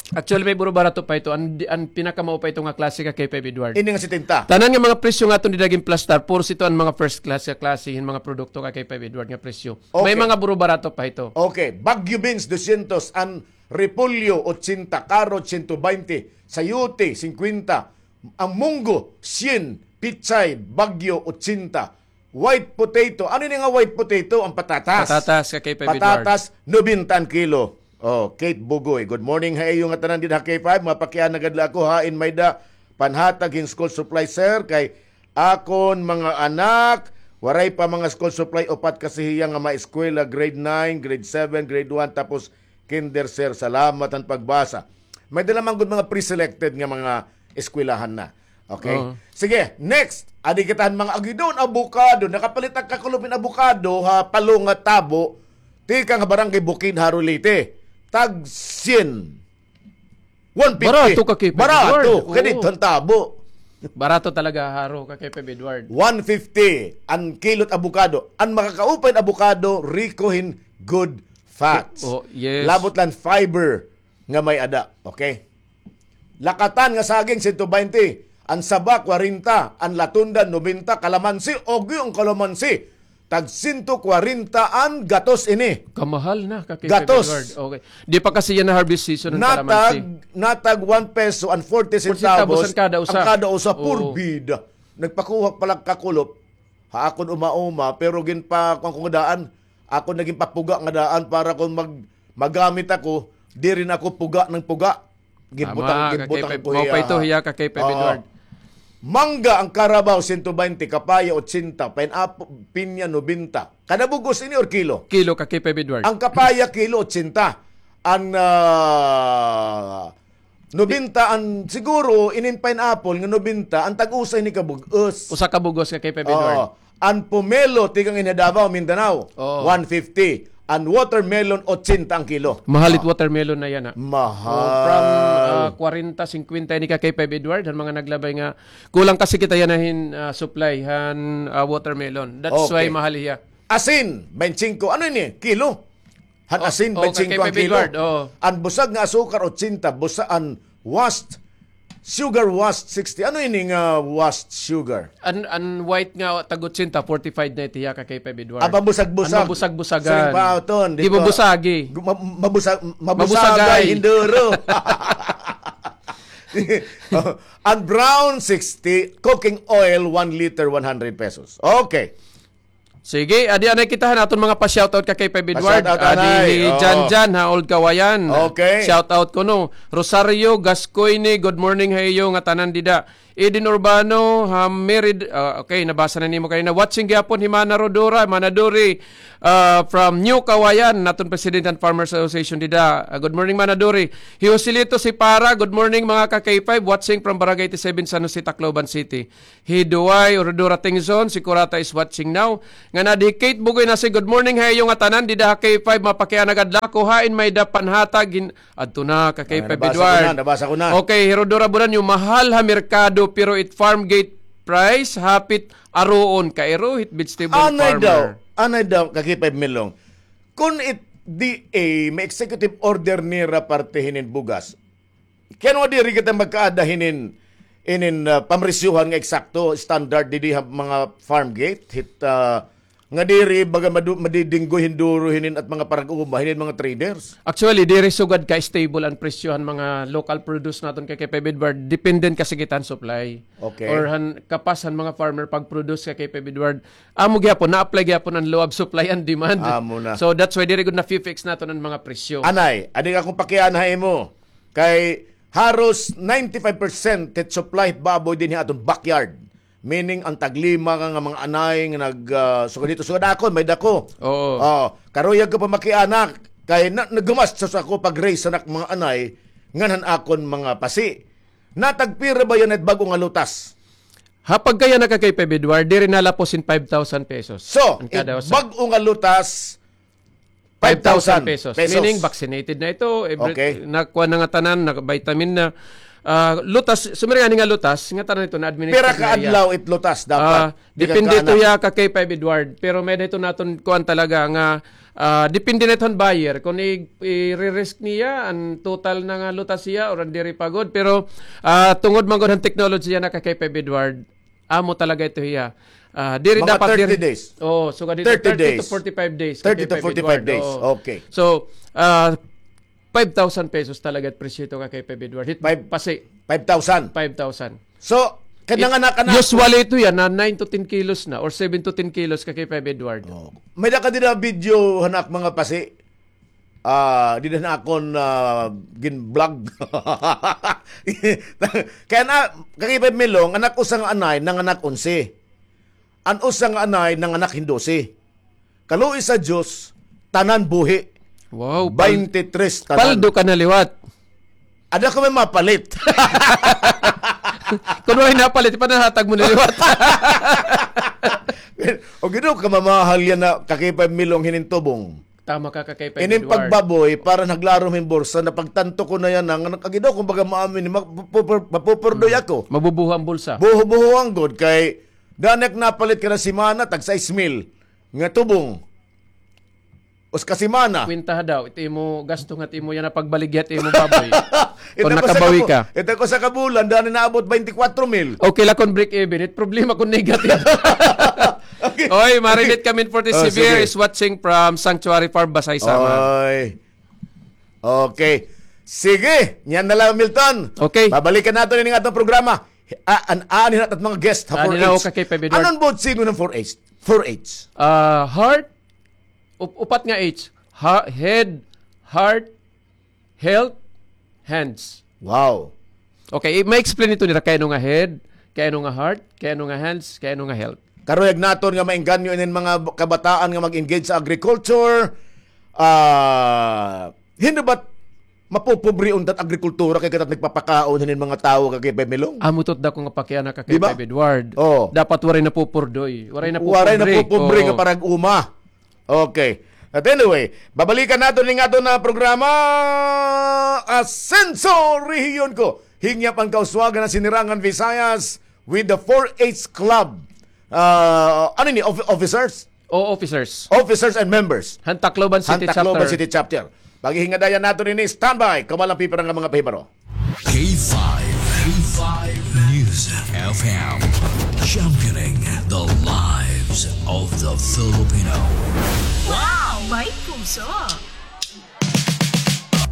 Actually, may buro barato pa ito. An, an pinakamao pa ito nga klase ka K five Edward. Ini nga setenta. Tanan nga mga presyo nga aton dida ginplastar, puros ito an mga first class nga klase hin mga produkto ka K five Edward nga presyo. May Okay. mga buro barato pa ito. Okay. Baguio beans, dosyentos. An repolyo, ochenta. Carrot, siyento baynte. Sayote, singkwenta. An munggo, syen. Pechay, Baguio, ochenta. White potato. Ano ini nga white potato? An patatas. Patatas ka K five Edward. Patatas, nobenta an kilo. Oh, Kate Bugoy. Good morning ha iyo nga tanan dida ha K five. Mapakiana gad la ako ha, in may-ada panhatag hin school supply, sir, kay akon mga anak, waray pa mga school supply, upat kasi hiya nga maeskwela, grade nine, grade seven, grade one, tapos kinder, sir. Salamat han pagbasa. May-ada la man gud mga pre-selected nga mga eskwelahan na. Okay? Oo. Sige, next. Adi kita han mga agidon, abukado. Nakapalit ak kakulop hin abukado ha Palo nga Tabo, tikang ha Barangay Bukidha, Leyte. Tag syen. One fifty. Barato ka, K five Barato. Edward. Oo. Kay didto han Tabo. Barato talaga, haro ka, K five Edward. One fifty an kilot abukado. An makakaupay hin abukado, riko hin good fats. Oh, yes. Labot la an fiber nga may-ada. Okay? Lakatan nga saging, siyento baynte. An saba, kwarenta. An latundan, nobenta. Kalamansi, agi an kalamansi. Tag siyento kwarenta an gatos ini. Kamahal na, ka K five Edward. Gatos. Okay. Di pa kasi yana harvest season an kalamansi. Natag, natag one peso an forty centavos an kada usa. An kada usa, Oo. purbida. Nagpakuha pa la ak kakulop ha akon uma-uma, pero ginpa-, kuan ko nga daan, akon na ginpapuga nga daan para kon mag-, magamit ako, diri na ako puga nang puga. Ginbutang, Tama, ginbutang ka K five, ko mao pa hiya, ito ha. hiya ka K five Oo. Edward. Mangga an karabaw, siyento baynte, kapaya, ochenta, pineapple, pinya, nobenta. Kada bug-os ini or kilo? Kilo ka K five Edward. An kapaya, kilo, ochenta. An, ah, nobenta an, siguro, inin pineapple nga nobenta, an tag-usa ini ka bug-os. Usa ka bug-os ka K five Edward. Oo. An pomelo, tikang in Davao, Mindanao, Oo. one fifty. An watermelon, ochenta an kilo. Mahal it Ah. watermelon na yana. Mahal. Oh, from, ah, kwarenta, singkwenta ini ka K five Edward, han mga naglabay nga, kulang kasi kita yana hin, ah, supply han, ah, watermelon. That's why Okay. mahal hiya. Asin, baynte singko. Ano ini? Kilo? Han Oh, asin, oh, baynte singko an kay Pepe kilo. Edward, oh. An busag nga asukar, ochenta. Busa-, an washed, sugar washed, sixty. Ano ini nga washed sugar? An, an white nga tag-ochenta, fortified na ito hiya ka kay Pepe Edward. Ah, mabusag-busag. An mabusag-busagan. Siring pa aton, Di dito. mabusagi. Gu-, ma-, mabusag-, mabusagay, Mabusagay. hinduro. An brown, sixty. Cooking oil, one liter, one hundred pesos. Okay. Sige, adi anay kita han aton mga pa-shoutout ka kay Pepe Edward. Pa-shoutout anay. Adi hi Oo. Jan Jan ha Old Kawayan. Okay. Shoutout kuno. Rosario Gascoigne, good morning ha iyo nga tanan dida. Eden Urbano, ha, Merid, ah, okay, nabasa na nimo kanina. Watching gihapon hi Mana Rodora, Mana Dori, ah, from New Kawayan, naton President han Farmers Association dida. Ah, good morning, Mana Dori. Hi Joselito Sipara, good morning, mga ka K five, watching from Barangay eighty-seven, San Jose, Tacloban City. Hi Duway, Rodora Tingzon, si Kurata is watching now. Ngan adi hi Kate Bugoy na si, good morning ha iyo ngatanan, dida ha K five, mapakiana gad la ako, hain may-ada panhatag hin-, adto na ka K five, Edward. Nabasa ko na, nabasa ko na. Okay, hi Rodora Bulanyo, mahal ha merkado, pero it farm gate price, hapit aroon, kairo hit vegetable farmer. Anay daw, anay daw, ka K five Milong. Kun it D A, may executive order nira parte hinin bugas. Kay ano nga diri kita magkaada hinin, inin, ah, pamresyuhan nga eksakto, standard didi ha mga farm gate, hit, ah, nga diri baga madu-, madidinggoy hin duro hinin at mga parag-uma, hinin mga traders. Actually, diri sugad ka stable an presyo han mga local produce naton kay, kay Peb Edward, depende kasi kita han supply. Okay. Or han kapas han mga farmer pag-produce kay, kay Peb Edward. Amo gihapon, na-apply gihapon an law of supply and demand. Amo na. So that's why diri gud na-fix naton an mga presyo. Anay, adi akon pakiana ha imo. Kay haros ninety-five percent hit supply hit baboy dinhi ha aton backyard. Meaning, an taglima nga, nga mga anay nga nag, ah, sugad hito, sugad akon, may-ada ko. Oo. Oh, karuyag ko pa makiana, kay na, naggumastos ako pag-raise han ak mga anay, ngan han akon mga pasi. Natagpira ba yana hit bag-o nga lutas? Ha pagkakiana ka kay Peb Edward, diri nalapos hin five thousand pesos. So, an kada usa. Bag-o nga lutas, five thousand pesos. Meaning, vaccinated na ito. Every, okay. Nakuha na nga tanan, na-vitamin na. Ah, lutas, sumiri ngani nga lutas, nga tanan ito, na-administer na iya. Pira ka adlaw it lutas dapat? Ah, depende ito hiya ka kay Peb Edward. Pero may-ada ito naton kuan talaga nga, ah, depende na ito han buyer. Kung i-, i-re-risk niya, an total na nga lutas hiya, or an diri pa gud. Pero, ah, tungod man gud han technology yana ka kay Peb Edward, amo talaga ito hiya. Ah, diri dapat diri. Mga thirty days. Oo, sugad hito, thirty to forty-five days. Thirty to forty-five days. Oo. Okay. So, ah, five thousand pesos talaga it presyo hito ka kay Peb Edward. Hit pasi. Five thousand? Five thousand. So, kay nanganak-anak. Usually ito yana, nine to ten kilos na or seven to ten kilos ka kay Peb Edward. Oh. May-ada ka dida video han ak mga pasi. Ah, dida han akon, ah, gin-vlog. Kay ana, ka kay Peb Milong, an ak usa nga anay, nanganak onse. An usa nga anay, nanganak hin dose. Kaluoy sa Diyos, tanan buhi. Wow, pal-, baynte tres tanan. Paldo ka na liwat. Ada ko may mapalit. Kun waray napalit, ipanahatag mo na liwat. O, gid, kamamahal yana, ka kay Peb Milong, hinin tubong. Tama ka, ka kay Peb Edward. Inin pagbaboy, para naglarom hin bursa, napagtanto ko na yana, nga nakagidaw, kumbaga, maamin, ma-, pu-, pu-, mapupurdoy ako. Mabubuho an bulsa. Buho-buho an gud, kay, daan ak napalit kada semana, tag sais mil, nga tubong. Usa ka semana. Kwentaha daw, it imo gasto nga it imo yana pagbaligya it imo baboy. Kon nakabawi ka. Ito ko sa kabulan, daan naabot twenty-four mil. Okay la kon break even. It problema kon negative. Okay. Oy, Marinette Kamin forty-seven is watching from Sanctuary Farm, Basay, Samar. Oy. Okay. Sige, niyan na lang, Milton. Okay. Babalikan naton ini nga atong programa. Ah, an, aanhi naton mga guest ha four H. Anon buot siring han four H? Four H. Ah, heart, Up-, upat nga H. Ha-, head, heart, health, hands. Wow. Okay, i-, ma-explain ito nira kay ano nga head, kay ano nga heart, kay ano nga hands, kay ano nga health. Karuyag naton nga maengganyo inin mga b-, kabataan nga mag-engage sa agriculture. Ah, hindi ba't mapupobre untat agrikultura kay kita nagpapakaon hinin mga tawo kay Peb Milong? Amo ito it dako nga pakiana ka kay Peb Edward. Oo. Dapat waray napupurdoy. Waray napupobre. Waray napupobre nga parag-uma. Okay. But anyway, babalikan naton ning aton nga programa, Asenso Rehiyon Ko. Hingyap an kauswagan han Sinirangan Visayas with the four H Club. Ah, ano ini? Officers? O, officers. Officers and members. Han Tacloban City Chapter. Paghihingadayan naton ini, standby. Kahuman la an pipira nga mga pahibaro. K five, K five News F M, championing the lives of the Filipino. Wow! May puso!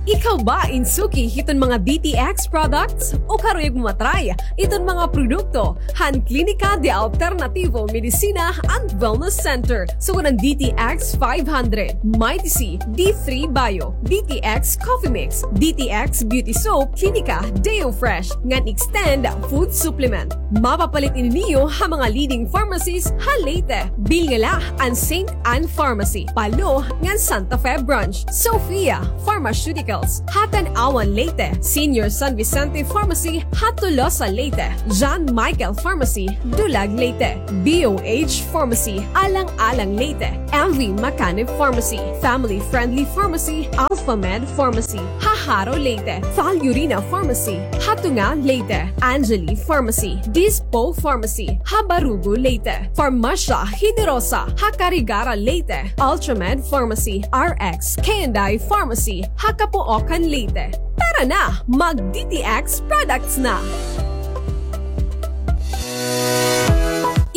Ikaw ba in suki hiton mga D T X products? O karuyag mo matry iton mga produkto han Klinika de Alternativo Medicina and Wellness Center? Sugad han D T X five hundred, Mighty C, D three Bio, D T X Coffee Mix, D T X Beauty Soap, Klinika Deo Fresh, ngan Extend Food Supplement. Mapapalit ini niyo ha mga leading pharmacies ha Leyte. Bilngala an Saint Ann Pharmacy, Palo, ngan Santa Fe Branch. Sophia Pharmaceuticals, ha Tanauan, Leyte. Senior San Vicente Pharmacy, ha Tolosa, Leyte. John Michael Pharmacy, Dulag, Leyte. B O H Pharmacy, Alang-alang, Leyte. M V Macanib Pharmacy, Family Friendly Pharmacy, Alpha Med Pharmacy, ha Jaro, Leyte. Valurina Pharmacy, ha Tunga, Leyte. Angeli Pharmacy, Dispo Pharmacy, ha Barugo, Leyte. Farmasya Generosa, ha Carigara, Leyte. Ultramed Pharmacy, R X K and I Pharmacy, ha Capoocan, Leyte. Tara na, mag D T X products na!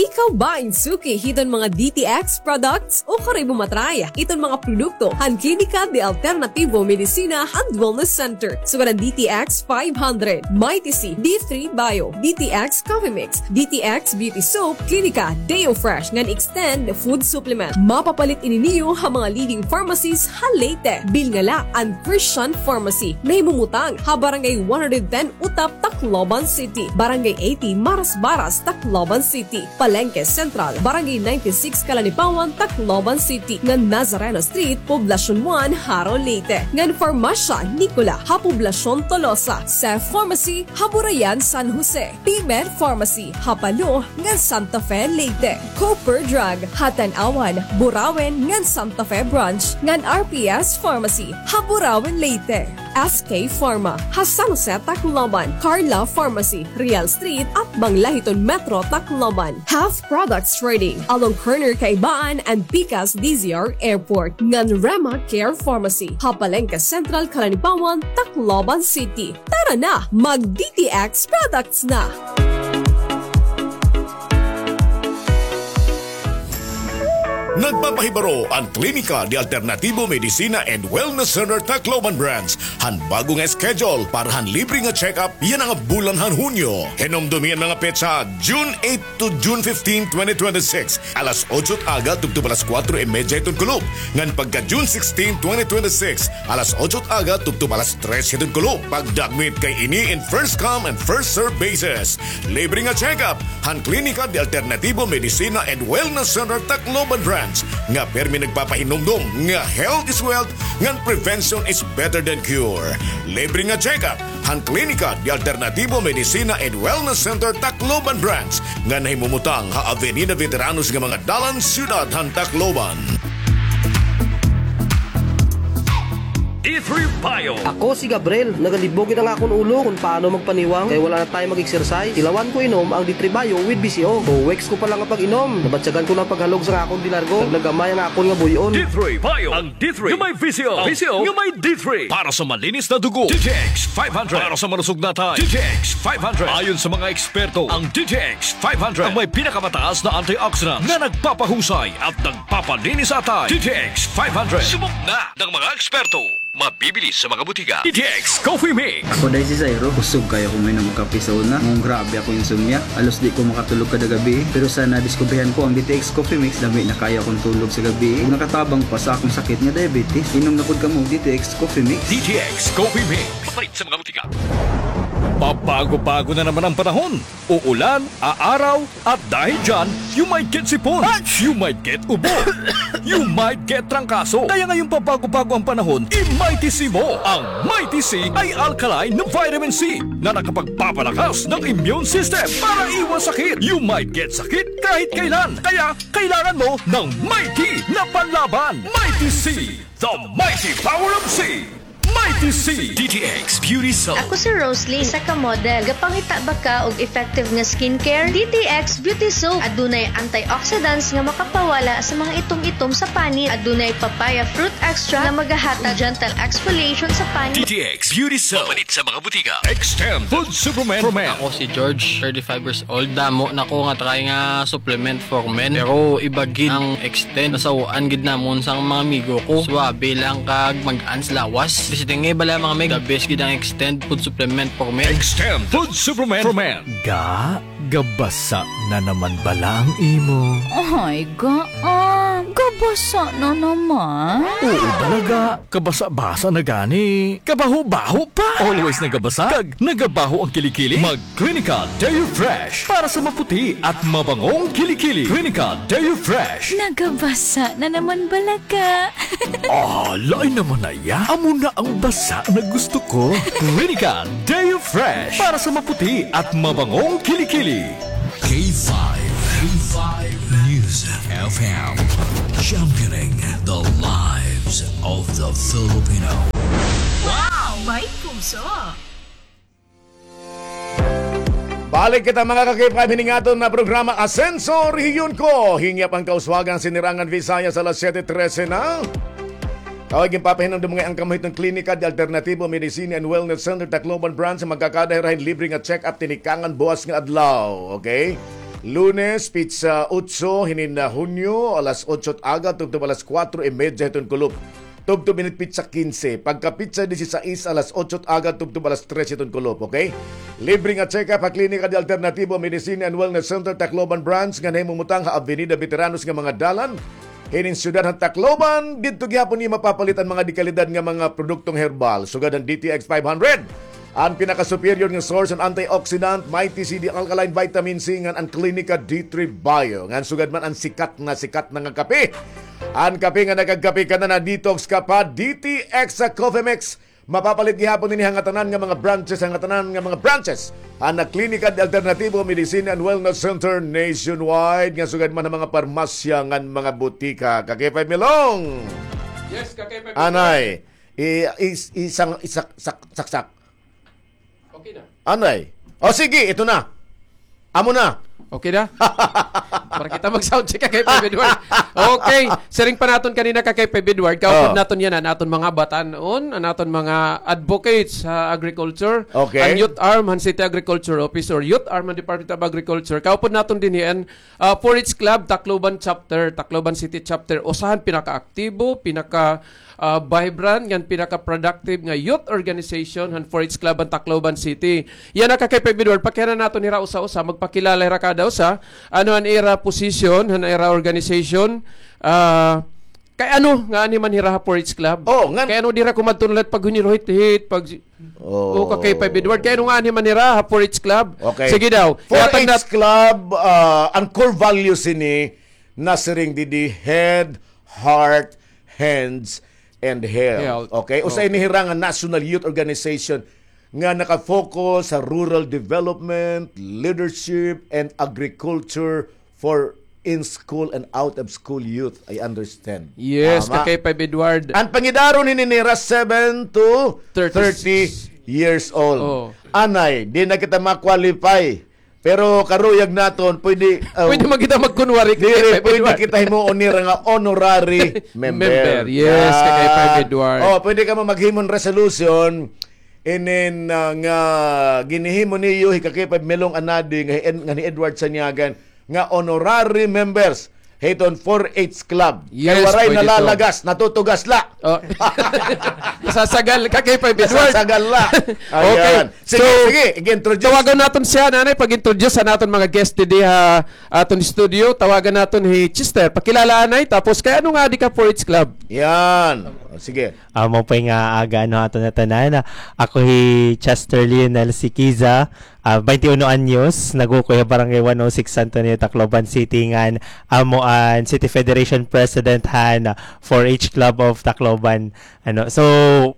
Ikaw ba in suki hiton mga D T X products? O karuyag mo matry iton mga produkto han Klinika de Alternativo Medicina and Wellness Center? Sugad han D T X five hundred, Mighty C, D three Bio, D T X Coffee Mix, D T X Beauty Soap, Klinika Deo Fresh, ngan Extend Food Supplement. Mapapalit ini niyo ha mga leading pharmacies ha Leyte. Bilngala an Christian Pharmacy, nahimumutang ha Barangay one hundred ten Utap, Tacloban City, Barangay eighty Marasbaras, Tacloban City, Palengke Central, Barangay ninety-six Calanipawan, Tacloban City, ngan Nazareno Street, Poblacion one, Jaro, Leyte, ngan Farmasya Nicola ha Poblacion Tolosa, Seth Pharmacy ha Burayan, San Jose, P-Med Pharmacy ha Palo ngan Santa Fe, Leyte, Cooper Drug ha Tanauan, Burauen ngan Santa Fe Branch, ngan R P S Pharmacy ha Burauen, Leyte. S K Pharma ha San Jose, Tacloban, Carla Pharmacy, Real Street, atbang la hiton Metro Tacloban, Health Products Trading, along corner Kaibaan and Pikas D Z R Airport, ngan Rema Care Pharmacy ha Palengke Central, Calanipawan, Tacloban City. Tara na, mag D T X products na! Nagpapahibaro an Klinika de Alternativo Medicina and Wellness Center Tacloban Branch han bag-o nga schedule para han libre nga check-up yana nga bulan han Hunyo. Hinumdomi an mga petsa, June eight to June fifteen, twenty twenty-six, alas otso it aga tubtob alas kuwatro y medya hiton kulop, ngan pagka June sixteen, twenty twenty-six, alas otso it aga tubtob alas tres hiton kulop. Pagdakmit kay ini in first come and first serve basis. Libre nga check-up han Klinika de Alternativo Medicina and Wellness Center Tacloban Branch, nga pirmi nagpapahinumdom nga health is wealth ngan prevention is better than cure. Libre nga check-up han Klinika de Alternativo Medicina and Wellness Center Tacloban Branch, nga nahimumutang ha Avenida Veteranos nga mga dalan, siyudad han Tacloban. D three Bio. Ako si Gabriel. Nagalibog gid an akon ulo kon paano magpaniwang kay wala na tayo mag-exercise. Tilawan ko inom ang D three Bio with V C O. Two weeks ko pa lang nga pag-inom, nabatyagan ko na an paghalog sa akon dilargo. Naglagamay an akon nga buy-on. D three Bio. Ang D three nga may V C O. V C O nga may D three. Para sa malinis na dugo, D T X five hundred. Para sa malusog na atay, D T X five hundred. Ayon sa mga eksperto, ang D T X five hundred ang may pinakamataas na antioxidant na nagpapahusay at nagpapalinis sa atay. D T X five hundred. Subok na ng mga eksperto. Mabibili sa mga butika. D T X Coffee Mix. Ako day si Zairo. Kusog kaayo ako moinom og kape sa una. Ngan grabe ako insomnia. Halos di ko makatulog kada gabii. Pero sa nadiskubrihan ko ang D T X Coffee Mix, lami na kaayo akon tulog sa gabii. Ug nakatabang pa sa akon sakit nga diabetes. Inom na pod kamo og D T X Coffee Mix. D T X Coffee Mix. Mapalit sa mga butika. Pabago-bago na naman ang panahon. Uulan, aaraw, at dahil dyan, you might get sipon, you might get ubo, you might get trangkaso. Kaya ngayong pabago-bago ang panahon, i-Mighty C mo. Ang Mighty C ay alkaline na vitamin C na nakapagpapalakas ng immune system para iwas sakit. You might get sakit kahit kailan. Kaya kailangan mo ng Mighty na panlaban. Mighty C, the mighty power of C. Mighty C. D T X Beauty Soap. Ako si Roslyn, isa ka model. Gapangita ba ka og effective nga skincare? D T X Beauty Soap. Adunay antioxidants nga makapawala sa mga itom-itom sa panit. Adunay papaya fruit extract nga magahatag gentle exfoliation sa panit. D T X Beauty Soap. Mapalit sa mga butika. Extend Food Supplement. Ako si George, thirty-five years old. Damo na ko nga try nga supplement for men. Pero iba gid ang Extend. Nasaw-an gid namon sang mga amigo ko. Suwabe lang kag mag-ans lawas. Bisita Nga iba la, mga mig, the best gid an Extend food supplement for men. Extend food supplement for men. Ga, gabasa na naman bala ang imo? Ay, ga, ah, gabasa na naman. Oo, talaga. Kabasa-basa na gani. Kabaho-baho pa. Always nagabasa. Kag nagabaho ang kilikili. Mag Clinica Deo Fresh para sa maputi at mabangong kilikili. Clinica Deo Fresh. Nagabasa na naman bala ka. Ah, lain naman na iya. Amo na ang basa na gusto ko. Clinica Deo Fresh para sa maputi at mabangong kilikili. K five, K five News F M, championing the lives of the Filipino. Wow! May puso! Balik kita, mga ka-K five, hini nga aton na programa, Asenso Rehiyon Ko. Hingyap an kauswagan, Sinirangan Visayas, alas siyete trese na. Kaway, ginpapahinumdom nga an kamo hiton Klinika de Alternativo Medicine and Wellness Center, Tacloban Branch, magkakada hira hin libre nga check-up tinikangan buwas nga adlaw. Okay? Lunes, petsa otso, hinin na Hunyo, alas otso it aga, tubtob alas kuwatro y medya hiton kulop. Tubtob ini it petsa kinse. Pagka petsa disisais, alas otso it aga, tubtob alas tres hiton kulop, okay? Libre nga check-up ha Klinika de Alternativo Medicine and Wellness Center, Tacloban Branch, nga nahimumutang ha Avenida Veteranos nga mga dalan hinin siyudad han Tacloban. Didto gihapon niyo mapapalit an mga dekalidad nga mga produktong herbal, sugad han D T X five hundred, an pinaka-superior nga source han antioxidant, Mighty C D Alkaline Vitamin C, ngan an Klinika D three Bio, ngan sugad man an sikat na sikat na nga kape. An kape nga nakagkape ka na, na-detox ka pa, D T X sa Coffee Mix. Mapapalit gihapon ini ha ngatanan nga mga branches, ha ngatanan nga mga branches han Klinika de Alternativo Medicine and Wellness Center nationwide, nga sugad man ha mga parmasya ngan mga butika. Ka-K five Milong. Yes, ka-K five Milong. Anay, i-, is-, isang, isak-, sak-, saksak. Okay na. Anay. O sige, ito na. Amo na. Okay na? Para kita mag-sound check, ka-K five Edward. Okay. Siring pa naton kanina, ka-K five Edward, kaupod naton yana an aton mga batan-on, an aton mga advocates ha agriculture, okay, an Youth Arm han City Agriculture Office or Youth Arm han Department of Agriculture. Kaupod naton dinhi an, ah, four H Club, Tacloban Chapter, Tacloban City Chapter. Usa han pinakaaktibo, pinaka ah, vibrant, ngan pinaka-productive nga youth organization han four H Club han Tacloban City. Yana, ka-K five Edward, pakiana naton hira usa-usa, magpakilala hira kada usa, ano an ira position han ira organization, ah, kay ano nga anhi man hira ha four H Club? Oh, ngan- Kay ano diri kumadto na la it paghunirhit-hit, pag- Oh. O, ka-K five Edward, kay ano nga anhi man hira ha four H Club? Okay. Sige daw. Four H Club, ah, an core values ini, nasiring didi, head, heart, hands, and health. Health. Okay? Usa ini hira nga national youth organization nga naka-focus sa rural development, leadership, and agriculture for in-school and out-of-school youth. I understand. Yes, ka-K five Edward. An pangidaron hini nira seven to thirty years old. Oh. Anay, di na kita ma-qualify. Pero karuyag naton, pwede, uh, pwede man kita magkunwari, diri, pwede kita himuon nira nga honorary member. Member, yes, ka-K five Edward. Oh, pwede kamo maghimo hin resolution, inin, uh, nga ginhihimo niyo hi ka-K five Milong Anadi, nga hi En-, nga ni Edward Sanyagan, nga honorary members hiton four H Club. Yes, pwede to. Kay waray nalalagas, natutugas la. Oh. Nasasagal, ka-K five Edward. Nasasagal la. Okay. Ayan. Sige, so, sige, i-introduce. Tawagan naton siya, Nanay, pag-introduce han aton mga guest didi ha aton studio. Tawagan naton hi Chester. Pakilala, Anay, tapos kay ano nga adi ka four H Club? Yan. O, sige. Amo pa nga aga, ano, aton nga tanan. Ako hi Chester Lionel Sikiza. Ah, baynte uno anyos, nag-uukoy ha Barangay one oh six, Santo Niño, Tacloban City, ngan amo an City Federation President han, ah, four H Club of Tacloban. Ano, so,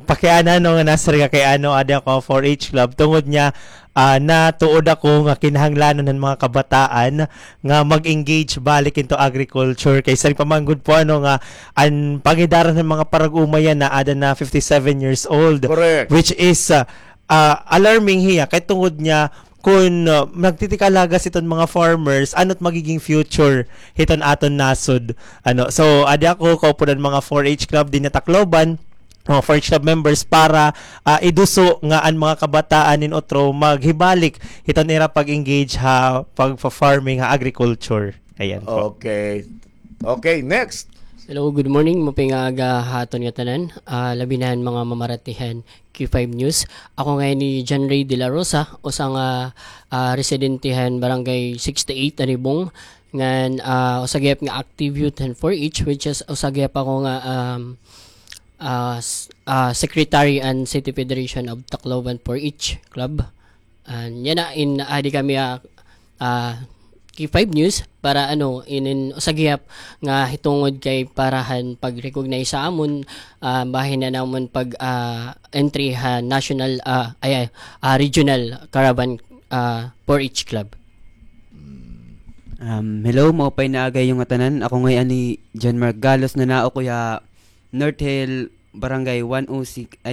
pakiana, no, nga nasiring nga kay ano adi ako ha four H Club, tungod niya, ah, natuod ako nga kinahanglanon han mga kabataan nga mag-engage balik into agriculture. Kay siring pa man gud po, ano, nga an pangidaran han mga parag-uma yana, ada na fifty-seven years old. Correct. Which is, ah, ah, alarming hiya, kay tungod niya, kun, ah, nagtitikalagas iton mga farmers, ano't magiging future hiton aton nasod? Ano, so, adi ako, kaupod an mga four H club dinhi ha Tacloban, mga four H club members para, ah, iduso nga an mga kabataan nin utro maghibalik hiton ira pag-engage ha pagfa-farming, ha agriculture. Ayan po. Okay. Okay, next. Hello, good morning. Maupay nga aga ha aton ngatanan. Ah, labi na han mga mamarati han K five News. Ako ngay-an hi John Ray de la Rosa, usa nga, ah, residente han Barangay sixty-eight, Anibong. Ngan, ah, usa gihap nga active youth han four H, which is usa gihap ako nga, um, ah, s-, ah, secretary han City Federation of Tacloban four H Club. An yana in adi kami, ah, ah, K five News para ano, inin usa gihap nga hitungod kay para han pag-recognize ha amon, ah, bahin han amon pag, ah, entry ha national, ah, ay, ay, ah, regional caravan, ah, four H club. Um, hello, maupay na aga ha iyo ngatanan. Ako ngay-an hi John Mark Galos, nanao ko ha North Hill, Barangay one oh six,